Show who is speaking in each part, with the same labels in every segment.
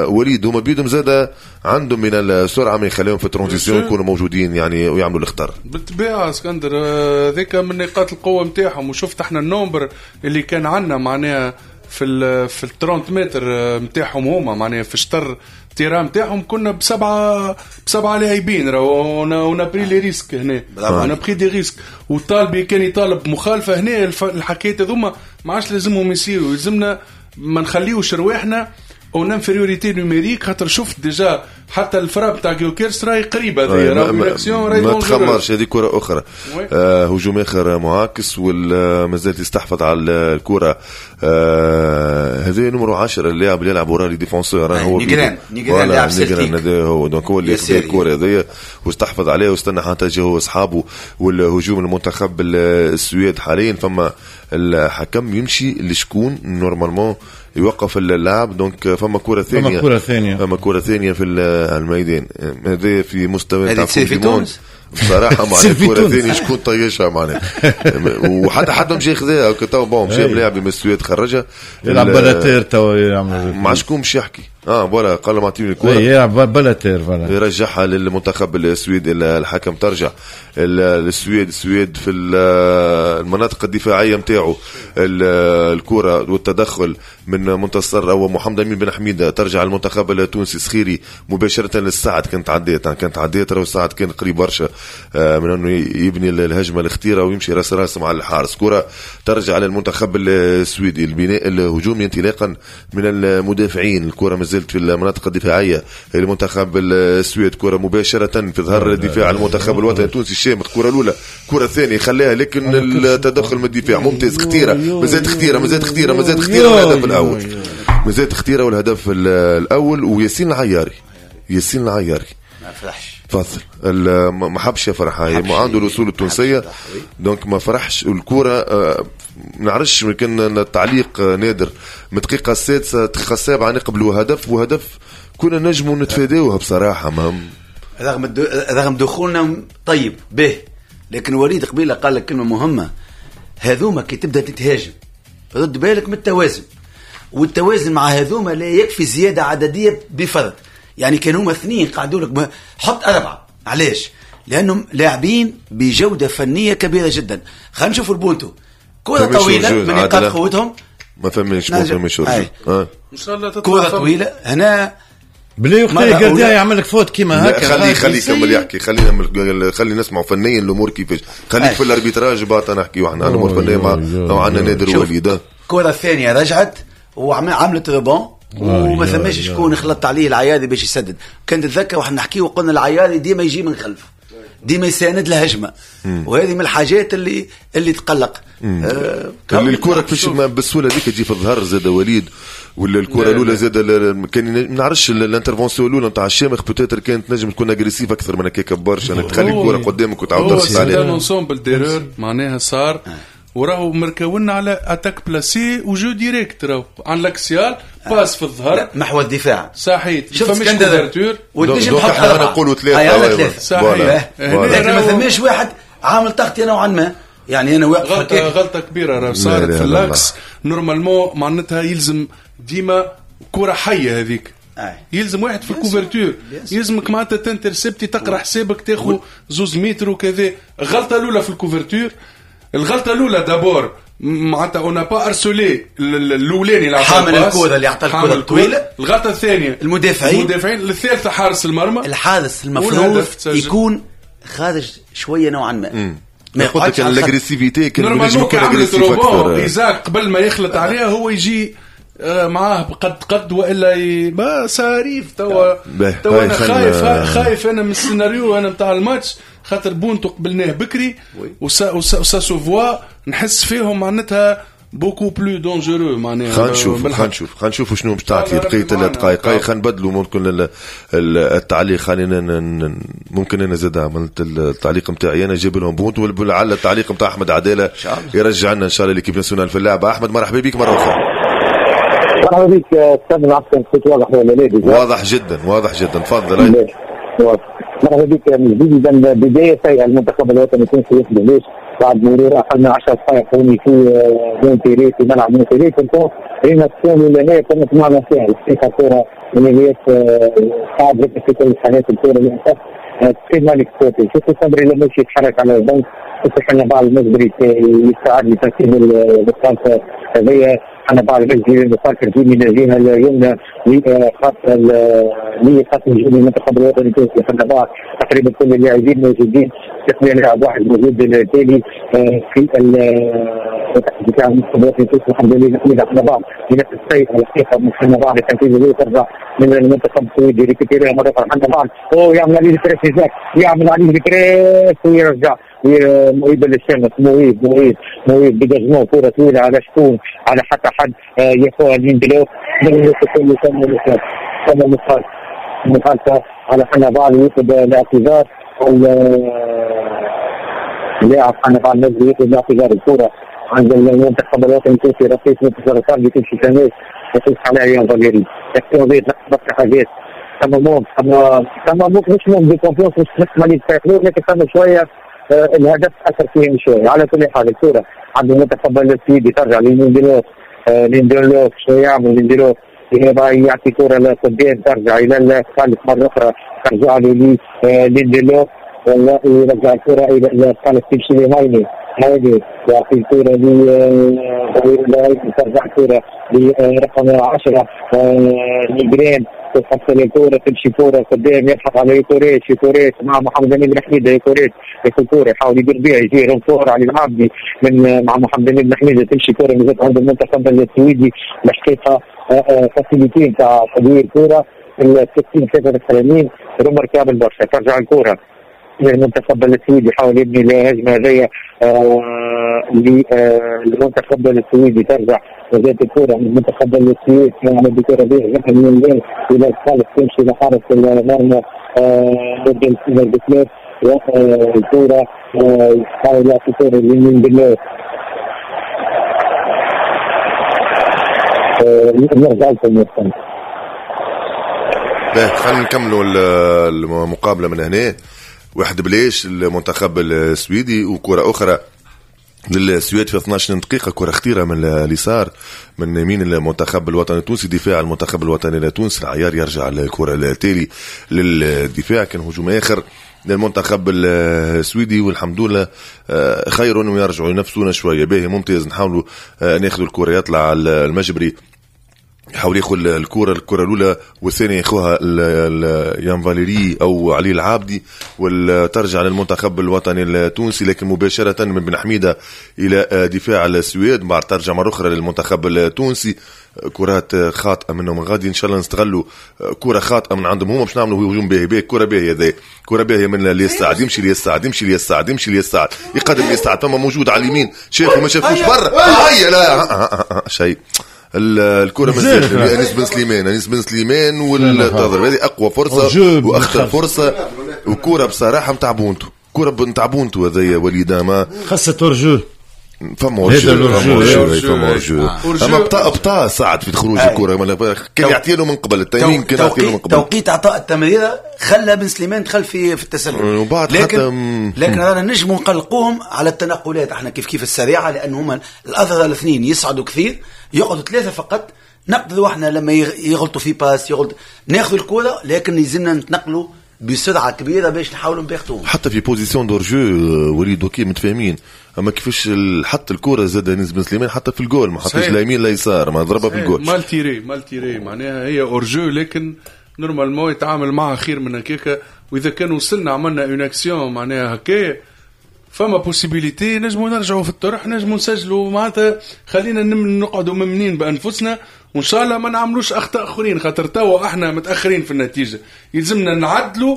Speaker 1: وليد، هما بيدهم زاد عندهم من السرعة ما يخليهم في ال transition يكونوا موجودين يعني ويعملوا الخطر.
Speaker 2: بالطبيعة اسكندر، هذيك من نقاط القوة نتاعهم. وشفت احنا ال nombre اللي كان عندنا معناها في ال 30 متر نتاعهم هما، معناها في شطر terrain نتاعهم كنا بسبعه لاعبين. راهو on a pris les risques هنا، on a pris des risques، وطالبي كان يطالب مخالفة هنا. الحكايات هذوما ما عادش لازمهم يصيروا، يلزمنا ما نخليوش رواحنا en infériorité numérique، خاطر شفت déjà حتى ال frappe تاع جيوكيرس راهي قريبه، هذه راهي اكسيون
Speaker 1: راهي ما تخمرش. هذه كره اخرى، هجوم اخر معاكس ومازال يستحفظ على الكره. هذا numéro 10، اللاعب اللي يلعب ورا les défenseurs.
Speaker 3: هو نيجران، نيجران لاعب
Speaker 1: نيجران هذا هو، donc هو اللي خذا الكره هذيا واستحفظ عليها واستنى حتى جا هو اصحابه. والهجوم المنتخب السويد حاليا، فما الحكم يمشي لشكون normalement يوقف اللاعب، donc فما كره ثانيه.
Speaker 4: فما كره ثانيه.
Speaker 1: فما كره ثانية في الميدان. هذا في مستوى
Speaker 3: تاع في تونس.
Speaker 1: بصراحة معناها الكره الثانية شكون طيشها معناها؟ وحتى حد مشى خذاها تو، bon مشى لاعب من السويد خرجها.
Speaker 4: يلعب بلاتير تو يعمل.
Speaker 1: مع شكون مش يحكي؟ Voilà، قال له اعطيني الكره.
Speaker 4: يلعب بلاتير voilà.
Speaker 1: يرجعها للمنتخب السويدي الحكم، ترجع للسويد. السويد في المناطق الدفاعية نتاعو الكره، والتدخل من منتصر او محمد امين بن حميده، ترجع المنتخب التونسي. سخيري مباشرة للسعد، كانت عديت، كانت عديت. راهو سعد كان قريب برشا من انه يبني الهجمة الخطيرة ويمشي راس راس مع الحارس. كره ترجع للمنتخب السويدي، البناء الهجومي انطلاقا من المدافعين. الكره مازالت في المناطق الدفاعية لمنتخب السويد، كره مباشرة في ظهر الدفاع المنتخب الوطني التونسي. الشامخ، الكره الاولى، الكره الثانية خلاها، لكن التدخل من الدفاع ممتاز. خطيره، مازالت خطيره، مازالت خطيره، مازالت خطيره، والهدف الاول. مازالت خطيرة والهدف الاول، وياسين العياري، ياسين العياري
Speaker 3: ما فرحش.
Speaker 1: تفضل، ما حبش يفرح، هاي عنده الاصول التونسيه، donc ما فرحش. الكره ما نعرفش يمكن التعليق نادر، من الدقيقة السادسه، الدقيقة السابعة نقبلوا هدف، وهدف كنا نجموا نتفاداوها بصراحة ما
Speaker 3: رغم دخولنا طيب به، لكن وليد قبيلة قال لك كلمة مهمه، هذوما كي تبدا تتهاجم رد بالك من التوازن، والتوازن مع هذوما لا يكفي زيادة عددية بفرد، يعني كانوا هما اثنين قعدوا لك حط اربعه. علاش؟ لانهم لاعبين بجوده فنية كبيرة جدا. خلينا نشوفوا البونتو، كره طويلة من نقاط قوتهم.
Speaker 1: ما فماش، ما فماش.
Speaker 2: ان شاء الله.
Speaker 3: كره طويلة هنا.
Speaker 4: بلي وقت gardien يعمل لك faute كيما هكا.
Speaker 1: خلي خلي يكمل يحكي، خلينا خلي نسمعوا فنيا الامور كيفاش. خليك في ال arbitrage بعد نحكيو احنا على الامور الفنيه، مع عندنا نادر وليد.
Speaker 3: الكره الثانية رجعت وعملت rebond وما ثماش شكون خلط عليه العيادي باش يسدد. كان تتذكر واحنا نحكي وقلنا العيادي ديما يجي من خلف، ديما يساند الهجمه، وهذه من الحاجات اللي تقلق.
Speaker 1: الكره كيفاش بالسهولة هذيك تجي في الظهر زاد وليد؟ ولا الكره الاولى زاد كان ما نعرفش، l'intervention الاولى نتاع الشامخ peut-être كانت نجم تكون agressive اكثر من هكاك برشا، انك تخلي الكره قدامك وتعاود
Speaker 2: ترسل عليها. c'est un ensemble d'erreurs معناها صار، وراهو مركونا على attaque placée و jeu direct، راهو عن l'axial passe في الظهر.
Speaker 3: محور الدفاع.
Speaker 2: صحيح، فماش couverture.
Speaker 3: وتنجم تحط
Speaker 1: احنا نقولوا ثلاثه.
Speaker 2: صحيح.
Speaker 3: لكن ما ثماش واحد عامل تغطيه نوعا ما، يعني انا واقف.
Speaker 2: غلطه كبيرة راه صارت في l'axe. normalement معناتها يلزم ديما كره حيه هذيك، يلزم واحد في ال couverture، يلزمك معناتها ت intercepter، تقرا حسابك، تاخذ 2 متر وكذا. الغلطة الاولى في ال couverture، الغلطة الاولى d'abord معناتها on n'a pas harcelé الاولاني
Speaker 3: اللي حامل الكره، اللي اعطى الكره الطويله.
Speaker 2: الغلطة الثانية
Speaker 3: المدافعين.
Speaker 2: المدافعين. الثالثة حارس المرمى.
Speaker 3: الحارس المفروض يكون خارج شوية نوعا ما.
Speaker 1: ما قلت لك l'agressivité
Speaker 2: كان نجم يكون agressif اكثر. ايزاك قبل ما يخلط عليها هو يجي معاه بقد قد والا ما ça arrive. توا انا خايف، خايف انا من السيناريو انا نتاع الماتش، خاطر بونتو قبلناه بكري و ça se voit، نحس فيهم معناتها beaucoup plus dangereux معناها.
Speaker 1: خلينا نشوف، خلينا نشوف، خلينا نشوف شنو باش تعطي بقية الدقائق. خلينا نبدلوا ممكن التعليق، خلينا ممكن انا زاد عملت التعليق نتاعي، انا جايب لهم بونت، ولعل التعليق نتاع احمد عدالة يرجع لنا ان شاء الله l'équipe nationale في اللعبه. احمد، مرحبا بك مرة اخرى.
Speaker 5: مرحبا بك استاذ، عفوا، الصوت واضح ولا لا؟
Speaker 1: واضح جدا، واضح جدا، تفضل.
Speaker 5: مرحبا بك من جديد. اذا بداية سيئه المنتخب الوطني التونسي، ليش بعد مرور اقل من 10 دقائق هوني في مونتيري في ملعب مونتيري. كنت رينا الثاني لهنا كانت معنا فيها الحقيقة كره من اللي صعب جدا في كل الحالات الكره للاسف كيما l'exploiter. شوفوا صبري لما يتحرك على البنك، شوفوا حنبعل المجبري يستعد لتنفيذ الخمسة هذيا. حنبعل المجبري مفكر فيه من الجهة اليمنى لخط لخط هجوم المنتخب الوطني التونسي. حنبعل تقريبا كل اللاعبين موجودين، تقنيا لاعب واحد موجود التالي في دفاع المنتخب الوطني التونسي. الحمد لله نحمد حنبعل بنفس الشيء الحقيقة من حنبعل لتنفيذ ترجع من المنتخب السويدي récupérer ها مرة اخرى. حنبعل هو يعمل عليه ال press، يعمل عليه ال press ويرجع مهيب للشمس. مهيب مهيب مهيب dégagement كره طويلة على شكون؟ على حتى حد ياخذها ليندلوف. ثم مخالفة على حنبعل ويطلب الاعتذار. اللاعب حنبعل المجدي يطلب الاعتذار. الكره عند المنتخب الوطني التونسي رصيف منتصر الفردي تمشي تماس يقيس عليها يان فاليري. يحكي برشا حاجات ثم ثم مش manque de confiance مش مالي لكن ثم شوية الهدف اثر فيهم شوية. على كل حال الكره عند المنتخب السويدي ترجع لليندلوف. ليندلوف شو يعمل ليندلوف؟ يعطي كره لقدام ترجع الى الخالف مرة اخرى، ترجع له ليندلوف والله يرجع الكره الى الخالف تمشي لهايني. هايني يعطي الكره ل ترجع الكره لرقم 10 نيجرين. تحصل الكورة تمشي كورة قدام يلحق على يوكوريش. يوكوريش مع محمد امين بن حميده. يوكوريش ياخذ كورة يحاول يدير بها، يجي renfort علي العابدي من مع محمد امين بن حميده. تمشي كورة مازالت عند المنتخب السويدي. الحقيقة facilité نتاع تدوير كورة ال 60 83 remarquable برشا. ترجع الكورة للمنتخب السويدي، يحاول يبني الهجمة هذيا للمنتخب السويدي. ترجع وزاد الكرة من المنتخب السويدي يعمل بكرة به من إلى الخالف تمشي لحارس المرمى نورد والكرة يحاول يعطي كرة لليندلوف. نرجع لكم.
Speaker 1: خلينا نكملوا المقابلة من هنا. 1-0 المنتخب السويدي، وكرة أخرى للسويد في 12 دقيقة، كرة خطيرة من اليسار من يمين المنتخب الوطني التونسي. دفاع المنتخب الوطني التونسي العيار يرجع الكرة التالي للدفاع. كان هجوم آخر للمنتخب السويدي والحمد لله خير ويرجعوا ينافسونا شوية. باهي ممتاز، نحاولوا ناخذوا الكرة. يطلع المجبري يحاول ياخذ الكرة الأولى والثانية ياخذها يان فاليري أو علي العابدي، وترجع للمنتخب الوطني التونسي لكن مباشرة من بن حميدة إلى دفاع السويد. بعد ترجع مرة أخرى للمنتخب التونسي. كرات خاطئة منهم غادي، إن شاء الله نستغلوا كرة خاطئة من عندهم هما باش نعملوا هجوم باهي. باهي كرة باهية هذه، كرة باهية من اليسار، يمشي اليسار، يمشي اليسار، يمشي اليسار، يقدم اليسار، ثم موجود على اليمين، شافوا ما شافوش برا، هيا لا شيء. الكرة مازالت انيس بن سليمان، انيس بن سليمان والتضرب هذه اقوى فرصة واخطر فرصة، وكرة بصراحة نتاع بونتو، كرة نتاع بونتو هذايا وليد ما
Speaker 4: خاصة hors-jeu.
Speaker 1: فما hors-jeu، فما hors-jeu، اما بطا ساعد في خروج الكرة، كان يعطي له من قبل التيمين، كان يعطي له من قبل.
Speaker 3: توقيت اعطاء التمريره خلى بن سليمان دخل في التسلل،
Speaker 1: وبعد
Speaker 3: لكن رانا نجموا نقلقوهم على التنقلات احنا كيف كيف السريعة، لان هما الاظهرة الاثنين يصعدوا كثير، يقعدوا ثلاثة فقط. نقدروا احنا لما يغلطوا في passe يغلط ناخذ الكره، لكن يلزمنا نتنقلوا بسرعة كبيرة باش نحاولوا نبيختوهم
Speaker 1: حتى في position d'hors-jeu. وليد OK متفاهمين، اما كيفاش حط الكره زاد انيس بن سليمان حتى في الجول، ما حطش لا يمين لا يسار، ما ضربها في الجول.
Speaker 2: mal tirée، mal tirée معناها هي hors-jeu، لكن normalement يتعامل معها خير من هكاك. واذا كان وصلنا عملنا une action معناها هكا فما possibilité نجموا نرجعوا في الطرح، نجموا نسجلوا، معناتها خلينا نقعدوا ممنين بانفسنا، وان شاء الله ما نعملوش اخطاء اخرين، خاطر توا احنا متاخرين في النتيجة، يلزمنا نعدلوا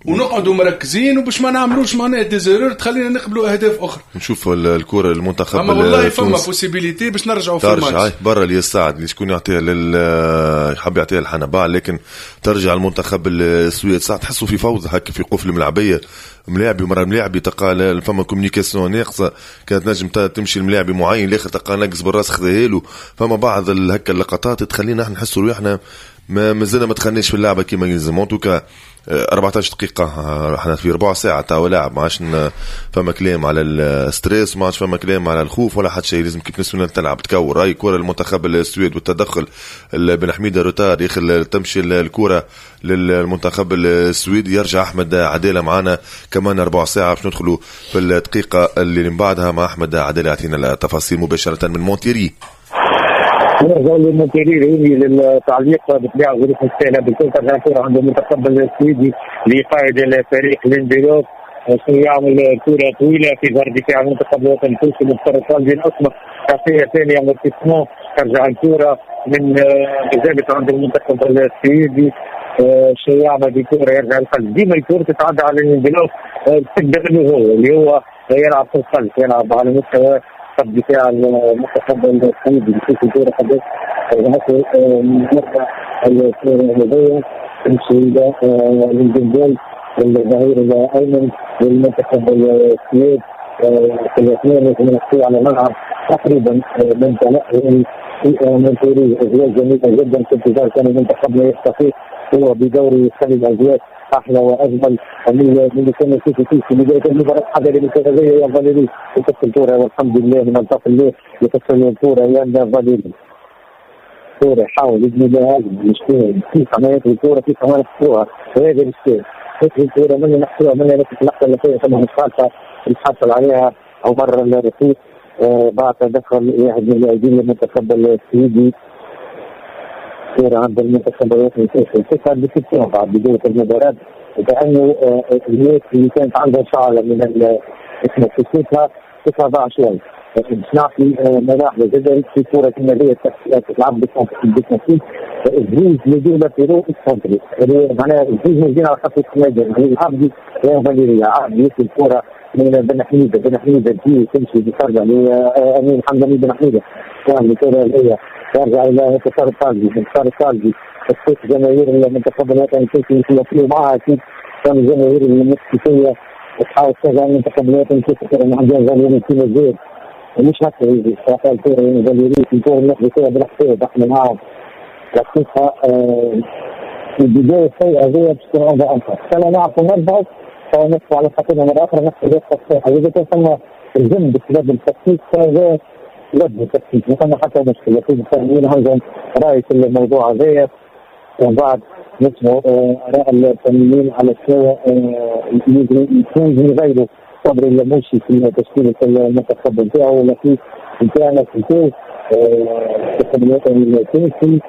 Speaker 2: ونقعدوا مركزين، وباش ما نعملوش معناها des erreurs تخلينا نقبلوا اهداف اخرى.
Speaker 1: نشوف الكره المنتخب،
Speaker 2: اما والله فما possibilité باش نرجعوا في الماتش.
Speaker 1: برا اليسار اللي شكون يعطيها حاب يعطيها الحنبال، لكن ترجع المنتخب السويد. ساعات تحسوا في فوضى هكا في قفل الملعبيه، ملاعبي مرة ملاعبي تلقى فما communication ناقصه، كانت نجم تمشي الملاعبي معين الاخر تلقى ناقص بالراس خذاها له. فما بعض هكا اللقطات تخلينا احنا نحسوا روحنا ما مازلنا ما دخلناش في اللعبة كيما يلزم. en tout cas 14 دقيقة، احنا في ربع ساعة تاع لاعب، ما عادش فما كلام على ال stress، ما عادش فما كلام على الخوف ولا حتى شيء، لازم équipe nationale تلعب تكور. هاي كرة المنتخب السويد والتدخل بن حميدة retard يخل تمشي الكرة للمنتخب السويدي. يرجع أحمد عدالة معنا كمان ربع ساعة باش ندخلوا في الدقيقة اللي من بعدها مع أحمد عدالة يعطينا التفاصيل مباشرة من مونتيري.
Speaker 5: نرجع للمونتيري للتعليق بالطبيعة ظروف السهلة بالكل. ترجع الكره عند المنتخب السويدي لقائد الفريق لينديلوف، يعمل كره طويلة في ظهر دفاع المنتخب الوطني التونسي مختار الطالبي الاسمر، تعطيه ثانية امورتيسمون. ترجع الكره من مازالت عند المنتخب السويدي، شيء يعمل بكره يرجع الخلف، ديما الكره تتعدى على لينديلوف تبدا منه هو اللي هو يلعب في الخلف، يلعب على مستوى دفاع المنتخب السويدي. يشوف الكورة قداش نرجع الكورة هذيا تمشي إلى للجنبول للظهير الأيمن للمنتخب السويد. في الاثنين لازم على الملعب تقريبا من تنقل مونتيري. أجواء جميلة جدا في انتظار كان المنتخب لا يستطيع هو بدوره يخلي الأجواء احلى واجمل من اللي كان يشوف فيه في بداية المباراة. حاجة اللي يا فاليري يكسر الكورة، والحمد لله من الطف الله يكسر الكورة يا فاليري. الكورة يحاول يبني لها مش كيف عملية الكورة، كيف عملية الكورة هذا الشيء الكورة من نحسوها من نفس اللحظة اللي فيها ثم مخالفة اللي حصل عليها عمر الرفيق بعد تدخل واحد من اللاعبين المنتخب السويدي. كورة عند المنتخب الوطني التونسي تسعة بستين بعد بداية المباراة، وكأنه الناس اللي كانت عندها شعلة من اسمها تسوتها تسعة شوي. باش نعطي ملاحظة جدا في كورة كما هي تلعب بالتنفيذ الزوج les deux latéraux excentrés، معناها الزوج موجودين على خط الميدان، يعني العبدي وفاليريا. عبدي ياخذ الكورة من بن حميدة، بن حميدة تجي تمشي ترجع لأمين حمداني بن حميدة، الكورة هي يرجع الى انتصار الطالبي، انتصار الطالبي تخصيص جماهير المنتخب الوطني التونسي يتواصلوا معها اكيد، كان الجماهير المكسيكيه تحاول تشجع المنتخب الوطني التونسي. كان عندنا فاليري كيما زيد مش هكا يجي صراحة الكورة فاليري في الكورة ناخذ فيها بالحساب احنا معاهم الحقيقة. البداية السيئة هذه باش تكون عندها انفع، كان نعرفوا نربحوا فنقفوا على خاطرنا مرة اخرى ناخذ التصحيح، اذا كان ثم الجنب بسبب التكتيك فهذا لازم التكتيك ما ثم حتى مشكلة. لكن الفنيين عندهم راي في الموضوع هذايا، ومن بعد نسمعوا اراء الفنيين على شنو يكون يغيروا صبري اللموشي في تشكيله المنتخب نتاعو ولا في نتاعنا في تونس المنتخب الوطني التونسي،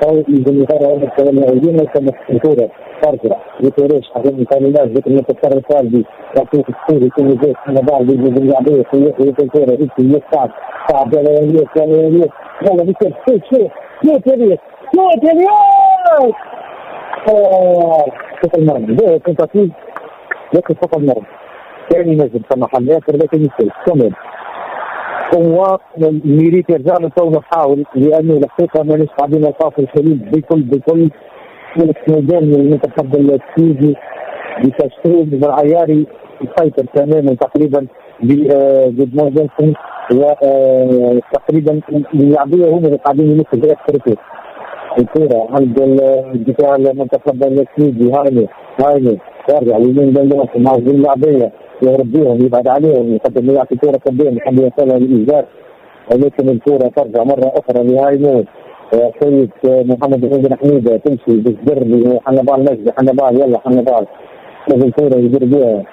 Speaker 5: او يلزم يغيروا اللاعبين كما الكورة ترجع يتوريش حاجة مثال ذيك المنتصر الطالبي يعطيك السوري يكون زيت انا بعد باللعبيه في الكورة يمشي يصعد صعب يا الياس يا الياس يلا بيصير شوف شوف شوف يا الياس شوف يا الياس فوق المرمى. ده tentative لكن فوق المرمى كان ينزل ثم حل اخر لكن يسال كمل هو mérite يرجع له تو نحاول، لانه الحقيقة مانيش قاعدين نلقاو في الحلول بكل بكل ميدان المنتخب السويدي بتشكيل بالعياري يسيطر تماما تقريبا بجودمان جونسون، وتقريبا اللاعبيه هم اللي قاعدين ينفذوا اكثر. الكره عند الدفاع المنتخب السويدي، هايني هايني يرجع يمين بن مع اللاعبيه يهرب بيهم يبعد عليهم يقدم يعطي كره قدام يحب يوصلها للايجار، ولكن الكره ترجع مرة اخرى لهاينو. سيد محمد بن حميده تمشي بالزر لحنبال مجدي، حنبال يلا حنبال لازم الكره يدير بها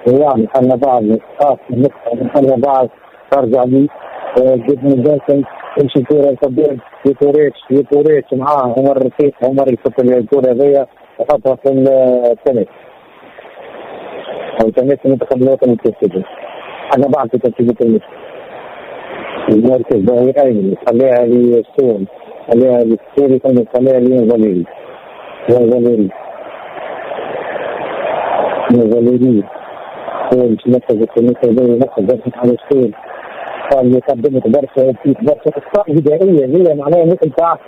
Speaker 5: ويعمل حنبال خاص النقطة من حنبال ترجع لي جود جونسون تمشي الكره لقدام يتوريتش يتوريتش معاه عمر رفيق، عمر يفك الكره هذيا وحطها في التنس او تنس المنتخب الوطني التونسي. انا بعد في ترتيب التنس المركز ظهير ايمن خليها للسوري، خليها للسوري ثم خليها لفاليري فاليري فاليري هو مش نفذ التنس هذا ينفذ على السوري. قال قدمت برشا برشا اخطاء بدائية هي معناها مثل تاع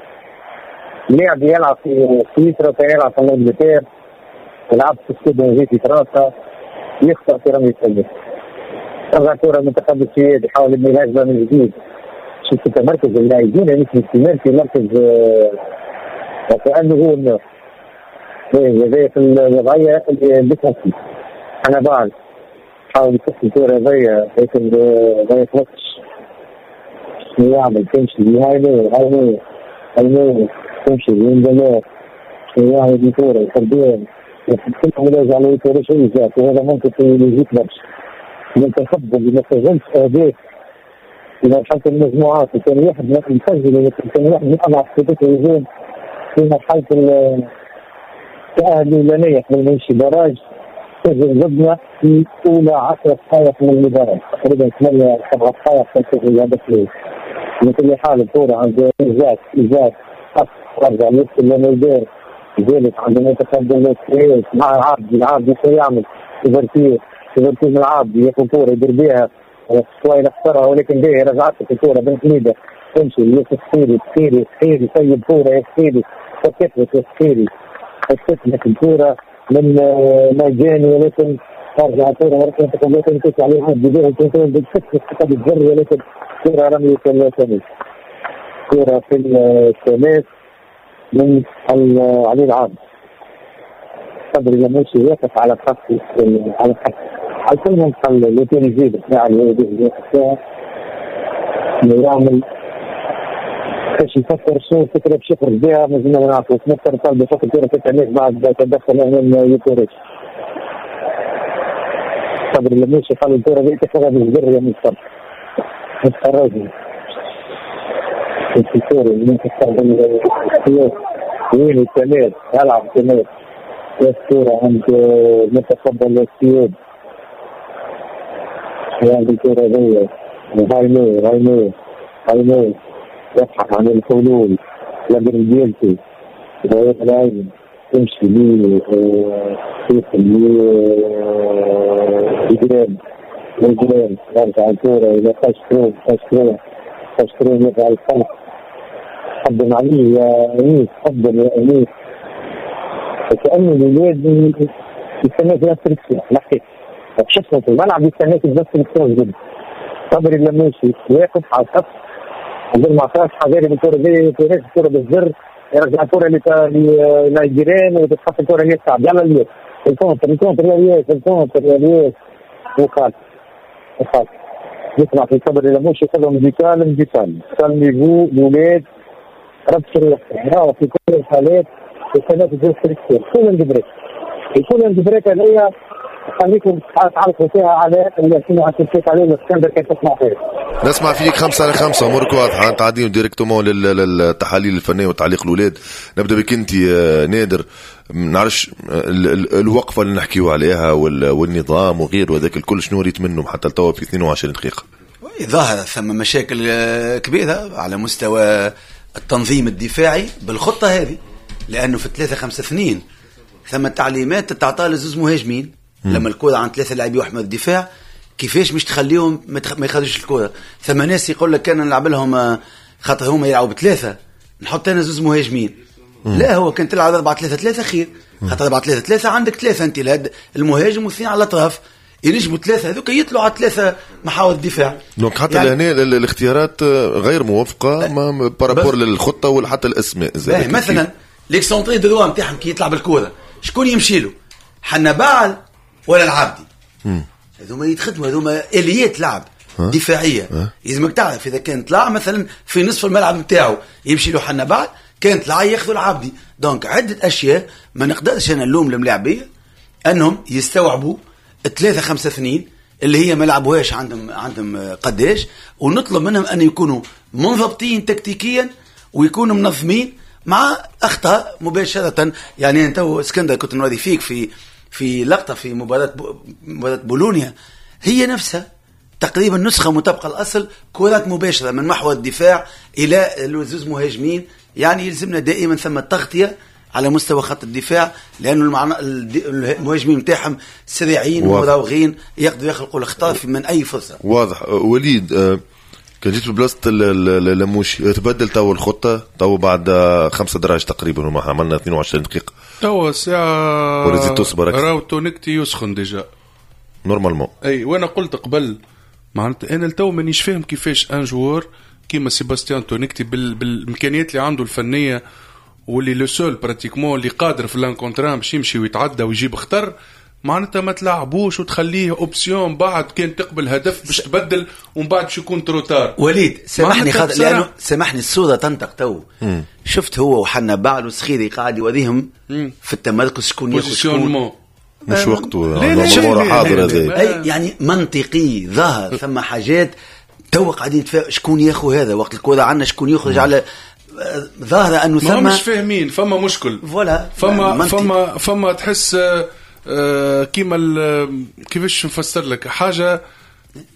Speaker 5: لاعب يلعب في سويسرا وكان يلعب في انجلترا يلعب في ستاد في فرنسا يخطأ في رمي السلة. ترجع كرة المنتخب السويدي يحاول يبني الهجمة من جديد. شفت تمركز اللاعبين يعني في الاستمرار في مركز وكأنه هو النور. هذايا في الوضعية اللي بتنفي انا بعد حاول يفك الكره هذايا لكن ما يخلصش يعمل تمشي هاي هاي هاي تمشي يندمر يعمل الكره يخبيها يحطها على الكره شيء وهذا ممكن يجيك برشا المنتخب اللي ما سجلش اهداف في مرحلة المجموعات وكان واحد يسجل ولكن كان واحد من اضعف خطوط الهجوم في مرحلة التاهل الاولانية قبل ما يمشي barrage سجل ضدنا في اولى 10 دقائق من المباراة تقريبا 8 7 دقائق سجل الهدف الاول. بكل حال الكره عند ايزاك رجع يدخل لميدان ذلك عندما يتقدم السويد مع العابدي شو يعمل؟ ouverture من العابدي ياخذ كورة يدير بها شوي نخسرها ولكن باهي رجعت الكورة بن حميده تمشي يوسف سخيري سخيري سخيري يسيب كورة يا سخيري فكت يا سخيري فكت الكورة من ميداني ولكن ترجع الكورة مرة ولكن تمشي عليها بدون contrôle بالفك بالجر ولكن كورة رمية التماس كورة في التماس من علي العابد. صبري لموشي يقف على خط على خط على كل منطقة اللي كان يزيد بتاع اللي فيها يعمل باش يفكر شنو الفكرة باش يخرج بها مازلنا ما نعرفوش. نفكر طالب يفكر كرة في التماس بعد تدخل امام يوكوريتش. صبري لموشي قال الكرة دي تاخذها بالجر يا مصطفى متخرجني الفكرة اللي ممكن وين التماس يلعب التماس الكرة عند متقبل السيود عند الكرة دي هايمو هايمو هايمو يبحث عن الحلول لابن ديالتي غير العين تمشي لي لي إجرام يرجع الكرة إلى خشكرون خشكرون خشكرون يرجع الخلف قدم عليه يا أنيس قدم يا أنيس وكأنه الولاد يستناك نفس الشيء الحقيقة شفنا في الملعب يستناك نفس الشيء جدا. صبري اللموشي واقف على الخط قبل ما عطاش حذاري بالكرة دي الكرة بالزر يرجع الكرة لنيجيريان وتتحط الكرة للشعب يلا الياس ال contre ال contre يا الياس ال contre يا الياس وخالف وخالف يسمع في صبري اللموشي يقول لهم du calme du calme calmez-vous الولاد ربط الرياح في كل الحالات يستناك الجزء يكون ال break يكون ال break هذيا خليكم تعلقوا فيها على اللي شنو عم عليه الاسكندر كيف تسمع فيه.
Speaker 1: نسمع فيك 5-5 امورك واضحة تعديهم directement للتحاليل الفنية وتعليق الاولاد. نبدا بك انت نادر، نعرفش الوقفة اللي نحكيو عليها والنظام وغيره وذاك الكل شنو ريت منهم حتى لتوا في 22 دقيقة؟
Speaker 3: ظاهر ثم مشاكل كبيرة على مستوى التنظيم الدفاعي بالخطة هذه، لانه في 3-5-2 ثم تعليمات تتعطى لزوز مهاجمين لما الكرة عن 3 لاعبين واحد من الدفاع كيفاش مش تخليهم ما يخرجوش الكرة. ثم ناس يقول لك كان نلعب لهم خاطر هما يلعبوا بثلاثة نحط انا زوز مهاجمين. لا هو كان تلعب 4-3-3 خير، خاطر 4-3-3 عندك 3 انت المهاجم واثنين على الاطراف ينجموا 3 هذوك يطلعوا على 3 محاور الدفاع.
Speaker 1: donc حتى يعني لهنا الاختيارات غير موفقة par rapport للخطه ولا حتى الاسماء.
Speaker 3: مثلا l'excentré droit نتاعهم كي يطلع بالكرة شكون يمشي له؟ حنبعل ولا العابدي؟ هذوما يتخدموا، هذوما اليات لعب دفاعية. لازمك تعرف اذا كان طلع مثلا في نصف الملعب نتاعو يمشي له حنبعل، كان طلع ياخذوا العابدي. donc عده اشياء ما نقدرش انا نلوم الملاعبيه انهم يستوعبوا 3-5-2 اللي هي ما لعبوهاش عندهم قداش، ونطلب منهم ان يكونوا منضبطين تكتيكيا ويكونوا منظمين مع اخطاء مباشرة. يعني انت اسكندر كنت نوري فيك في لقطة في مباراة بولونيا هي نفسها تقريبا نسخه مطابقه الاصل، كرات مباشرة من محور الدفاع الى زوز مهاجمين. يعني يلزمنا دائما ثم تغطيه على مستوى خط الدفاع، لانه المهاجمين نتاعهم سريعين ومراوغين يقدروا يخلقوا الاخطاء من اي فرصة.
Speaker 1: واضح وليد، كان جيت ببلاصه اللموشي تبدل تو الخطة تو بعد 5 دراج تقريبا وما عملنا 22 دقيقة
Speaker 2: تو الساعة راهو تونكتي يسخن déjà
Speaker 1: normalement.
Speaker 2: اي وانا قلت قبل معناتها انا لتو مانيش فاهم كيفاش un joueur كيما سيباستيان تونكتي بالامكانيات اللي عنده الفنية واللي le seul pratiquement اللي قادر في l'un contre un باش يمشي ويتعدى ويجيب خطر، معناتها ما تلعبوش وتخليه option بعد كان تقبل هدف باش تبدل ومن بعد باش يكون trop tard.
Speaker 3: وليد سامحني خاطر لانه سامحني الصورة تنطق تو. شفت هو وحنا بعل وسخيري قاعد يوريهم في التمركز شكون ياخذ شكون،
Speaker 1: مش وقته حاضر هذا.
Speaker 3: اي يعني منطقي ظهر ثم حاجات تو قاعدين شكون ياخذ هذا وقت الكره عندنا شكون يخرج على ظاهره انه ثم
Speaker 2: مش فاهمين، فما مشكل
Speaker 3: voilà
Speaker 2: فما تحس كيما كيفاش نفسر لك حاجة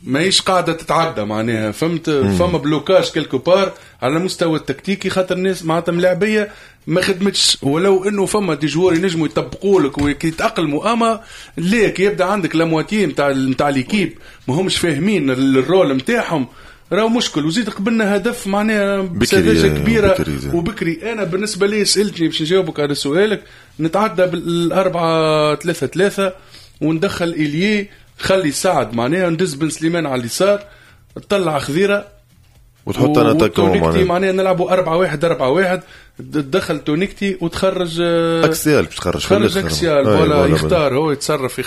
Speaker 2: ماهيش قاعدة تتعدى معناها، فهمت؟ فما blocage quelque part على المستوى التكتيكي، خاطر الناس معناتها ملاعبيه ما خدمتش، ولو انه فما des joueurs ينجموا يطبقوا لك ويتاقلموا، اما ليك يبدا عندك la moitié نتاع l'équipe ما همش فاهمين ال rôle نتاعهم، راهو مشكل. وزيد قبلنا هدف معناها بسذاجه كبيرة وبكري. انا بالنسبة لي سالتني باش نجاوبك على سؤالك، نتعدى بال4-3-3 وندخل ailier، خلي سعد معناها ندز بن سليمان على اليسار، تطلع خذيره
Speaker 1: وتحط انا تاكو
Speaker 2: معناها نلعبوا 4-1-4-1، تدخل تونيكتي وتخرج
Speaker 1: axial باش تخرج
Speaker 2: axial ولا يختار هو يتصرف،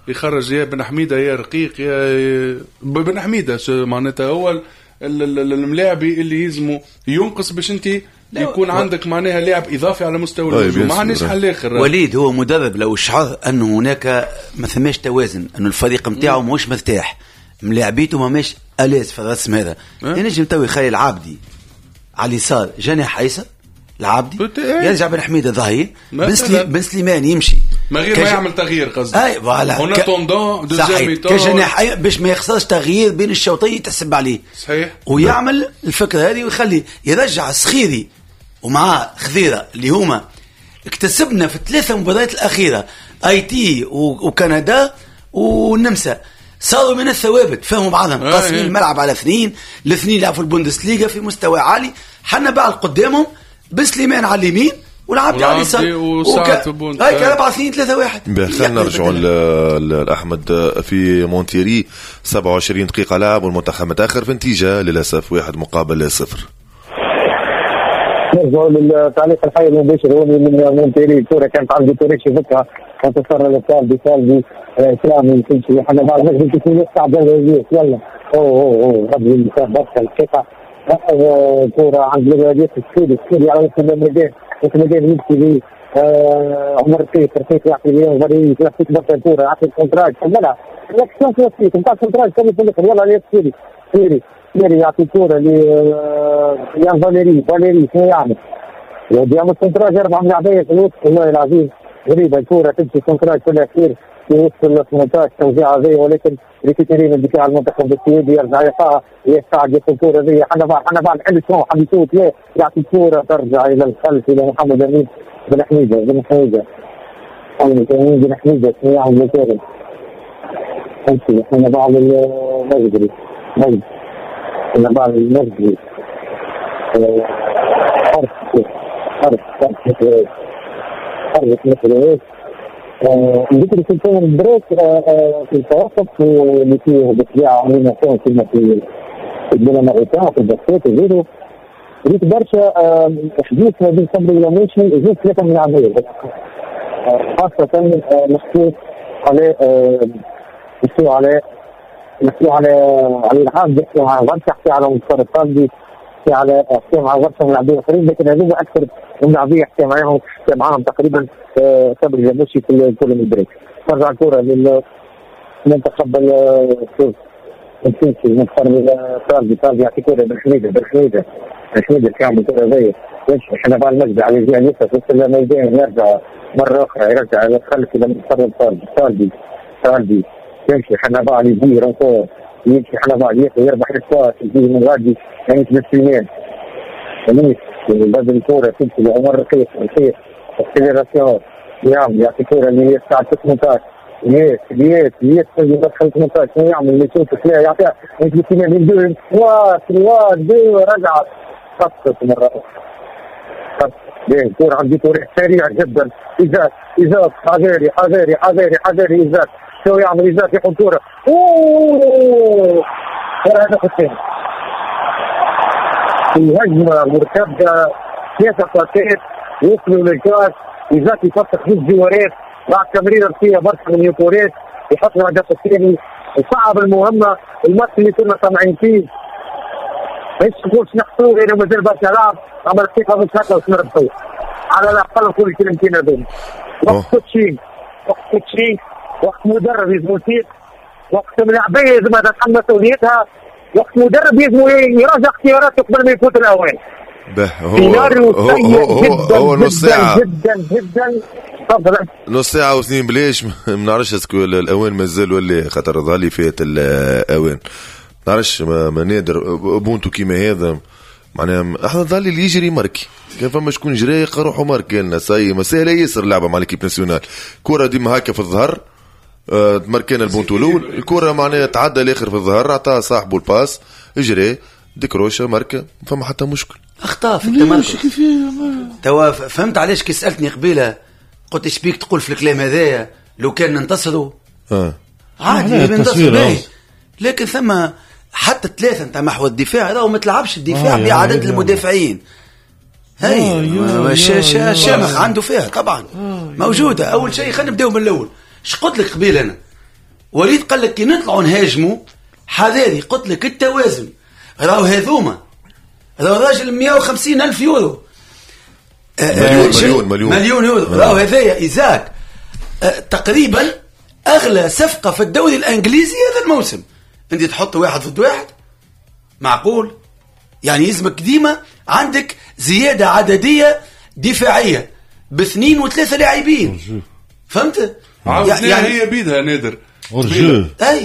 Speaker 2: يخرج يا بن حميده يا رقيق يا بن حميده، معناتها هو الملاعبي اللي يلزمه ينقص باش انت يكون عندك معناها لاعب اضافي على مستوى الهجوم، ما عندناش حل اخر.
Speaker 3: وليد هو مدرب لو شعر انه هناك ما ثماش توازن، انه الفريق نتاعو ماهوش مرتاح، ملاعبيته ماهيش à l'aise في الرسم هذا، ينجم تو يخلي العابدي على اليسار جناح ايسر، العابدي يرجع بن حميده ظهير، بن سليمان يمشي
Speaker 2: ما غير ما يعمل تغيير قصدي،
Speaker 3: اي voilà
Speaker 2: en attendant deuxième mi-temps
Speaker 3: كجناح باش ما يخسرش تغيير بين الشوطين تحسب عليه
Speaker 2: صحيح،
Speaker 3: ويعمل الفكرة هذه ويخلي يرجع السخيري ومعاه خذيره اللي هما اكتسبنا في الثلاثة مباريات الاخيرة اي تي وكندا والنمسا، صاروا من الثوابت، فهموا بعضهم، قاسمين الملعب على اثنين، الاثنين لعبوا في البوندسليغا في مستوى عالي، حنا بعد قدامهم بسليمان على اليمين والعبد على اليسار هاي 4-2-3-1.
Speaker 1: خلينا نرجعوا لاحمد في مونتيري، 27 دقيقة لعب والمنتخب متاخر في نتيجة للاسف 1-0.
Speaker 5: نرجعوا للتعليق الحي المباشر هو من مونتيري، الكره كانت عند توريش فكها انتصر للسالبي سالبي اسلامي تمشي حنا بعد نجم تكون يصعب يلا او ربي برشا الثقة كرة عند الرياضيات السوري على وسط الميدان، وسط الميدان يمشي عمر رقيق يعطي اليوم غادي يعطيك برشا الكرة، يعطي ال centrage كملها l'action classique نتاع ال centrage كمل في الاخر، يلا يا سيري سيري سيري يعطي الكرة ل يان فاليري شنو يعمل؟ يعمل centrage 4 ملاعبية في الوسط، والله العظيم غريبة الكرة تمشي centrage في الأخير في وسط ال 18 توزيع هذه، ولكن récupéré من دفاع المنتخب السويدي يرجع يقع يستعد ياخذ الكرة هذه، حنا بعد حل شنو حب يشوط يعطي الكرة ترجع إلى الخلف إلى محمد أمين بن حميدة بن حميدة بن حميدة شنو يعمل الكرة؟ تمشي حنا بعد المجدري مجد حنا بعد المجدري حرف حرف حرف مثل ذكر سلطان البريك في التوسط اللي فيه بالطبيعة عملنا كما في البنامريكان في ال basket وغيره، ريت برشا حديث ما بين صبري ولاموشي زوج ثلاثة من العملية، خاصة مخصوص على مخصوص على مخصوص على على العام، يحكوا على برشا، يحكي على مصطفى الطالبي، يحكي على يحكي مع برشا من اللاعبين الاخرين، لكن هذوما اكثر من لاعبين يحكي معاهم تقريبا صبري لاموشي في كل من ال break. ترجع الكرة للمنتخب التونسي، المنتخب طالبي طالبي يعطي كرة بن حميدة بن حميدة بن حميدة يعمل كرة زي يمشي حنا بعد المجد على الجهة اليسرى في وسط الميدان، يرجع مرة أخرى يرجع إلى الخلف إلى منتخب طالبي طالبي طالبي يمشي حنا بعد يجي renfort يمشي حنا بعد يربح الكاس يجي من غادي يعني بن سليمان بدل الكرة تمشي لعمر رقيق رقيق accélération يعمل يعطي كرة اللي هي الساعة 18 يس يس يس يدخل 18 شنو يعمل يشوف فيها يعطيها يمشي 2 3 2 رجع خطت مرة أخرى خطت الكرة عندي طريق سريع جدا إيزاك إيزاك حذاري حذاري حذاري حذاري إيزاك شو يعمل إيزاك يحط كرة أوه هذا الثاني في هجمة مرتدة ثلاثة باسات وصلوا للكاس، ايزاك يفتح زوج جوارات بعد تمريره فيها برشا من يوكوريس يحط الهدف الثاني، وصعب المهمة. الماتش اللي كنا طامعين فيه مش نقولش نحصوه لانه مازال برشا لعب، اما الثقة مش هكا باش نربحوه على الاقل نقول الكلمتين هذوما. وقت coaching، وقت coaching، وقت مدرب لازم يثيق، وقت ملاعبيه لازم تتحمل مسؤوليتها، وقت مدرب لازم يراجع اختياراته قبل ما يفوت الاوان.
Speaker 1: هو هو هو نص ساعة
Speaker 5: جدا جدا تفضل،
Speaker 1: نص ساعة واثنين بلاش ما نعرفش est-ce que الاوان مازال ولا خاطر ظهر لي فات الاوان، ما نعرفش ما نادر بونتو كيما هذا معناها احنا ظهر لي اللي يجري marquer، كان فما شكون جري يلقى روحه marqué لنا ساي ما ساهله ياسر اللعبة مع l'équipe nationale، كرة ديما هكا في الظهر ماركينا البونتو الاول، الكرة معناها تعدى الاخر في الظهر عطى صاحبه ال passe اجري décrocha marqua، فما حتى مشكل.
Speaker 3: اخطاء في التمركز. توا فهمت علاش كي سالتني قبيلة قلت ايش بيك تقول في الكلام هذايا لو كان ننتصروا عادي ننتصروا، لكن ثم حتى ثلاثة نتاع محور الدفاع راهو ما تلعبش الدفاع بعدد المدافعين. هاي الشامخ عنده فيها طبعا موجودة. اول شيء خلينا نبداو من الاول. اش قلت لك قبيل انا وليد؟ قال لك كي نطلعوا نهاجموا حذاري، قلت لك التوازن راهو هذوما راهو راجل 150 ألف يورو،
Speaker 1: مليون مليون
Speaker 3: مليون يورو، راهو هذايا إيزاك تقريبا أغلى صفقة في الدوري الإنجليزي هذا الموسم. أنت تحط واحد ضد واحد معقول؟ يعني يلزمك ديما عندك زيادة عددية دفاعية باثنين وثلاثة لاعبين، فهمت؟
Speaker 2: يعني هي بيدها نادر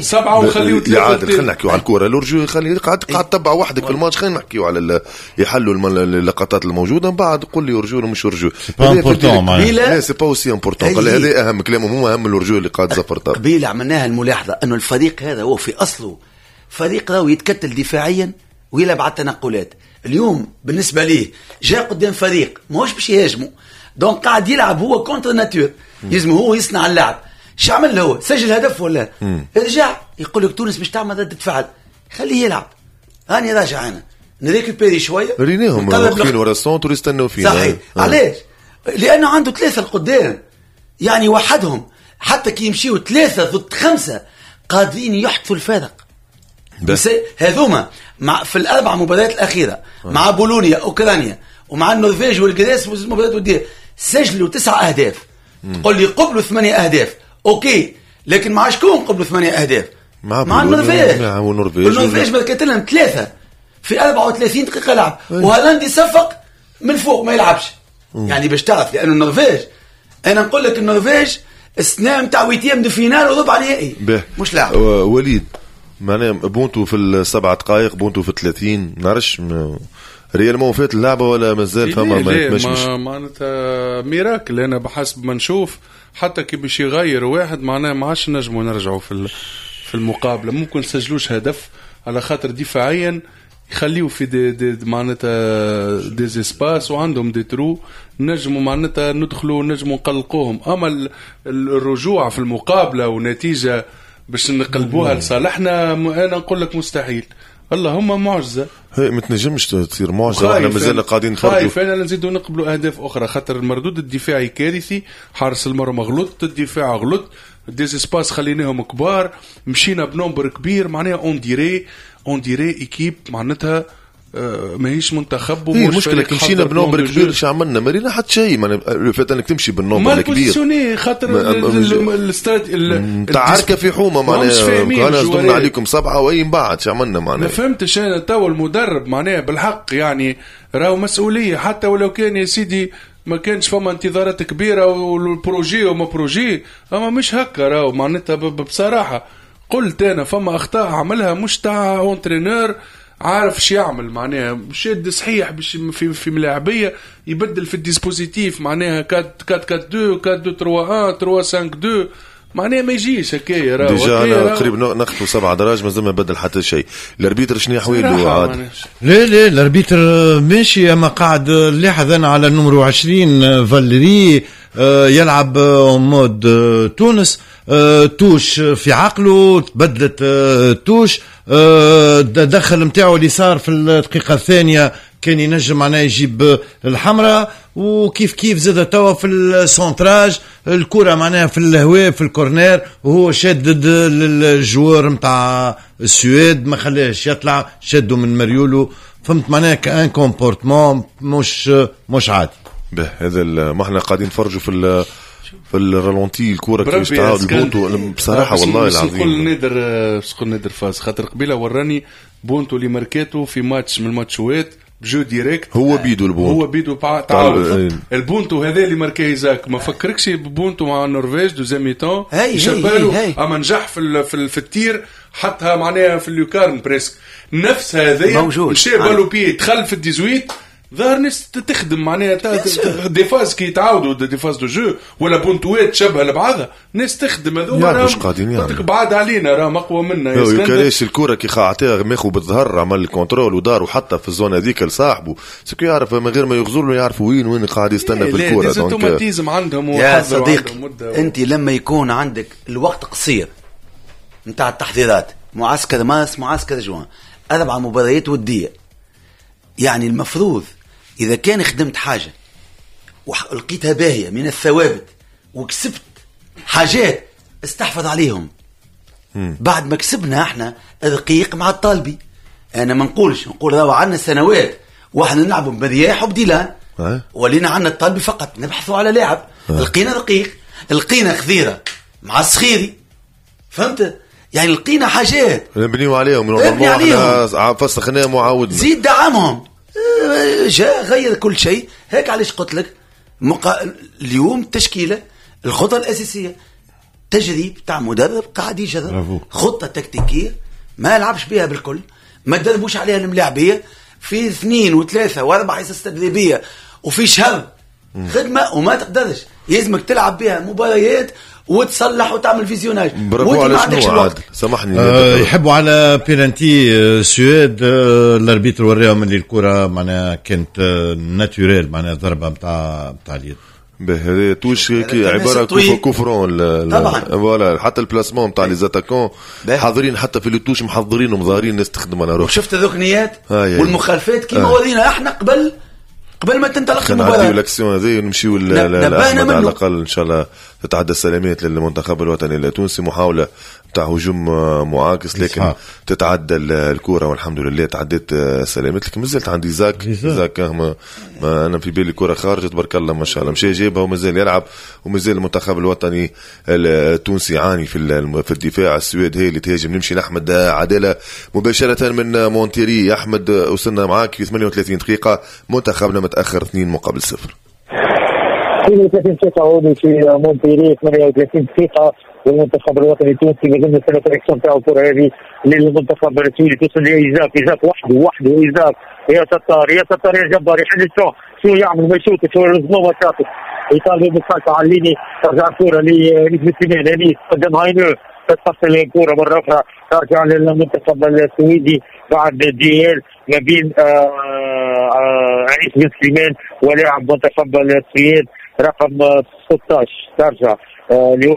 Speaker 2: سبعة وخليه ثلاثة.
Speaker 1: عادل خلينا نحكيو على الكورة، l'hors-jeu خلي قاعد تبع وحدك في الماتش، خلينا نحكيو على يحلوا اللقطات الموجودة من بعد قول لي hors-jeu ولا مش hors-jeu. لا c'est pas aussi important، قال هذا اهم كلامهم، هو اهم ال hors-jeu اللي قاعد زفر.
Speaker 3: قبيلة عملناها الملاحظة انه الفريق هذا هو في اصله فريق راهو يتكتل دفاعيا ويلعب على التنقلات. اليوم بالنسبة ليه جاء قدام فريق ماهوش باش يهاجمه، donc قاعد يلعب هو contre nature، لازم هو يصنع اللعب. شو عمل هو؟ سجل هدف ولا رجع يقول لك تونس باش تعمل ردة فعل، خليه يلعب، هاني راجع انا ن récupérer شوية.
Speaker 1: ريناهم واقفين ورا ال centre يستناو فينا.
Speaker 3: صحيح. علاش؟ لانه عنده ثلاثة القدام، يعني وحدهم حتى كي يمشيو 3 ضد 5 قادرين يحدثوا الفارق. بس هذوما مع في الاربع مباريات الاخيرة مع بولونيا اوكرانيا ومع النرويج والجريس والمباريات الودية سجلوا 9 اهداف. تقول لي قبلوا 8 اهداف، OK، لكن مع شكون قبلوا 8 اهداف؟ مع النرويج. النرويج ماركت لهم 3 في 34 دقيقة لعب، وهالاند يصفق من فوق ما يلعبش. يعني باش تعرف لانه النرويج، انا نقول لك النرويج السنة نتاع huitième de finale وربع نهائي مش لاعب.
Speaker 1: وليد معناها بونتو في 7 دقائق، بونتو في 30، نعرفش réellement فات اللعبة ولا مازال فما
Speaker 2: ما معناتها miracle. انا بحسب ما نشوف حتى كي باش يغير واحد معناها ما عادش نجموا نرجعوا في المقابلة، ممكن نسجلوش هدف على خاطر دفاعيا يخليو في des معناتها des espaces وعندهم des trous، نجموا معناتها ندخلوا نجموا نقلقوهم. اما الرجوع في المقابلة ونتيجة باش نقلبوها لصالحنا انا نقول لك مستحيل. اللهم معجزه،
Speaker 1: هي ما تنجمش تصير معجزه واحنا مازلنا قاعدين نتفرجوا.
Speaker 2: خايف انا نزيدوا نقبلوا اهداف اخرى خاطر المردود الدفاعي كارثي، حارس المرمى غلط، الدفاع غلط، des espaces خليناهم كبار، مشينا ب nombre كبير معناها on dirait équipe معناتها ماهيش منتخب.
Speaker 1: ومش المشكلة كي مشينا ب nombre كبير اش عملنا؟ ما رينا حتى شيء. معناها فات انك تمشي بال nombre الكبير
Speaker 2: خاطر
Speaker 1: تعاركه في حومه معناها انا صدمنا عليكم 7 وين بعد اش عملنا معناها؟
Speaker 2: ما فهمتش انا تو المدرب معناها بالحق يعني راهو مسؤولية، حتى ولو كان يا سيدي ما كانش فما انتظارات كبيرة وال projet وما projet، اما مش هكا راهو معناتها بصراحة قلت انا فما اخطاء عملها مش تاع entraîneur عارف شو يعمل، معناها شاد صحيح باش في ملاعبيه يبدل في ال dispositif معناها 4 4 2 4 2 3 1 3 5 2 معناها ما يجيش هكايا.
Speaker 1: راهو déjà انا قريب نخطو 7 دراج مازال ما بدل حتى شيء. ال arbitre شنو حوايله عاد؟
Speaker 4: لا لا ال arbitre ماشي، اما قاعد لاحظ انا على ال numéro 20 فاليري يلعب mode تونس، touche في عقله تبدلت touche، دخل نتاعو اللي صار في الدقيقة الثانية كان ينجم معناها يجيب الحمراء. وكيف كيف زاد توا في ال centrage الكره معناها في الهواء في ال corner وهو شادد ال joueur نتاع السويد ما خلاش يطلع، شدوا من مريولو، فهمت معناها un comportement مش عادي.
Speaker 1: به هذا ما احنا قاعدين نفرجوا في ال ralenti الكورة كيفاش تعاود البونتو بصراحة والله العظيم.
Speaker 2: نقول نادر، نقول نادر فاز خاطر قبيلة وراني بونتو اللي ماركاتو في ماتش من الماتشوات ب jeu direct،
Speaker 1: هو بيدو البونتو،
Speaker 2: هو بيدو تعاود البونتو هذا اللي ماركاه إيزاك ما فكركش ببونتو مع النرويج deuxième mi-temps شبالو، اما نجح في ال tir حطها معناها في ال lucarne presque نفس هذايا مشى balle au pied دخل في ال dix-huit ظهر ناس تخدم معناها des phases كي يتعاودوا des phases de jeu ولا بونتوات تشبه لبعضها ناس تخدم هذوما
Speaker 1: مش قاعدين يعني
Speaker 2: بعاد علينا راهم اقوى منا.
Speaker 1: يا الكره كي عطاها ماخو بالظهر عمل ال contrôle ودار وحطها في ال zone هذيك لصاحبه ce que يعرف من غير ما يغزر له يعرف وين قاعد يستنى في الكره.
Speaker 2: donc automatismes عندهم
Speaker 3: يا صديقي. انت لما يكون عندك الوقت قصير نتاع التحضيرات، معسكر مارس معسكر جوان، 4 مباريات وديه، يعني المفروض إذا كان خدمت حاجة ولقيتها باهية من الثوابت وكسبت حاجات استحفظ عليهم. بعد ما كسبنا احنا رقيق مع الطالبي، أنا ما نقولش نقول راهو عندنا سنوات واحنا نلعبوا بمرياح وبديلان، ولينا عندنا الطالبي فقط نبحثوا على لاعب، لقينا رقيق، لقينا خذيرة مع الصخيري، فهمت؟ يعني لقينا حاجات
Speaker 1: نبنيو عليهم، احنا فسخناهم وعاودنا
Speaker 3: زيد دعمهم، جاء غير كل شيء. هيك علاش قلت لك اليوم التشكيلة الخطة الاساسية تجريب تاع مدرب قاعد يجرب خطه تكتيكية ما لعبش بها بالكل، ما دربوش عليها الملاعبيه في 2 و3 و4 حصص تدريبية وفي شهر خدمة وما تقدرش، يلزمك تلعب بها مباريات وتصلح وتعمل visionnage.
Speaker 1: برافو على شنو عادل سامحني.
Speaker 4: يحبوا على بيلانتي السويد، ال arbitre وراهم اللي الكره معناها كانت naturelle، معناها ضربه نتاع اليد.
Speaker 1: هذه touche عبارة coup franc
Speaker 3: طبعا
Speaker 1: voilà، حتى ال placement نتاع les attaquants حاضرين، حتى في les touches محضرين ومظاهرين الناس تخدم على روحها.
Speaker 3: شفت الركنيات والمخالفات كيما ورينا احنا قبل ما تنطلق المباراة.
Speaker 1: نعديو l'action هذه ونمشيو لأحمد على الأقل إن شاء الله تتعدى السلامات للمنتخب الوطني التونسي. محاولة تاع هجوم معاكس لكن تتعدى الكرة والحمد لله تعدت سلامات. لكن مازالت عندي زاك ما أنا في بالي الكرة خارجة تبارك الله ما شاء الله مشى جايبها ومازال يلعب، ومازال المنتخب الوطني التونسي يعاني في الدفاع. السويد هي اللي تهاجم. نمشي لأحمد عدالة مباشرة من مونتيري. أحمد وصلنا معاك في 38 دقيقة، منتخبنا متأخر 2-0.
Speaker 5: 32 دقيقة هوني في مونتيري، 38 دقيقة والمنتخب الوطني التونسي مازال نستنى ال réaction تاعو. الكرة هذه للمنتخب السويدي توصل لإيزاك، إيزاك وحده إيزاك، يا ستار يا ستار يا جبار، يحل الشون شو يعمل ما يشوتش هو الزنوبة شاطر، يطالب بالخلف على ال ligne، ترجع الكرة لسليمان انيس قدام هاينو، تتصل الكرة مرة أخرى ترجع للمنتخب السويدي بعد duel ما بين انيس بن سليمان ولاعب منتخب السويد رقم 16. ترجع اللي هو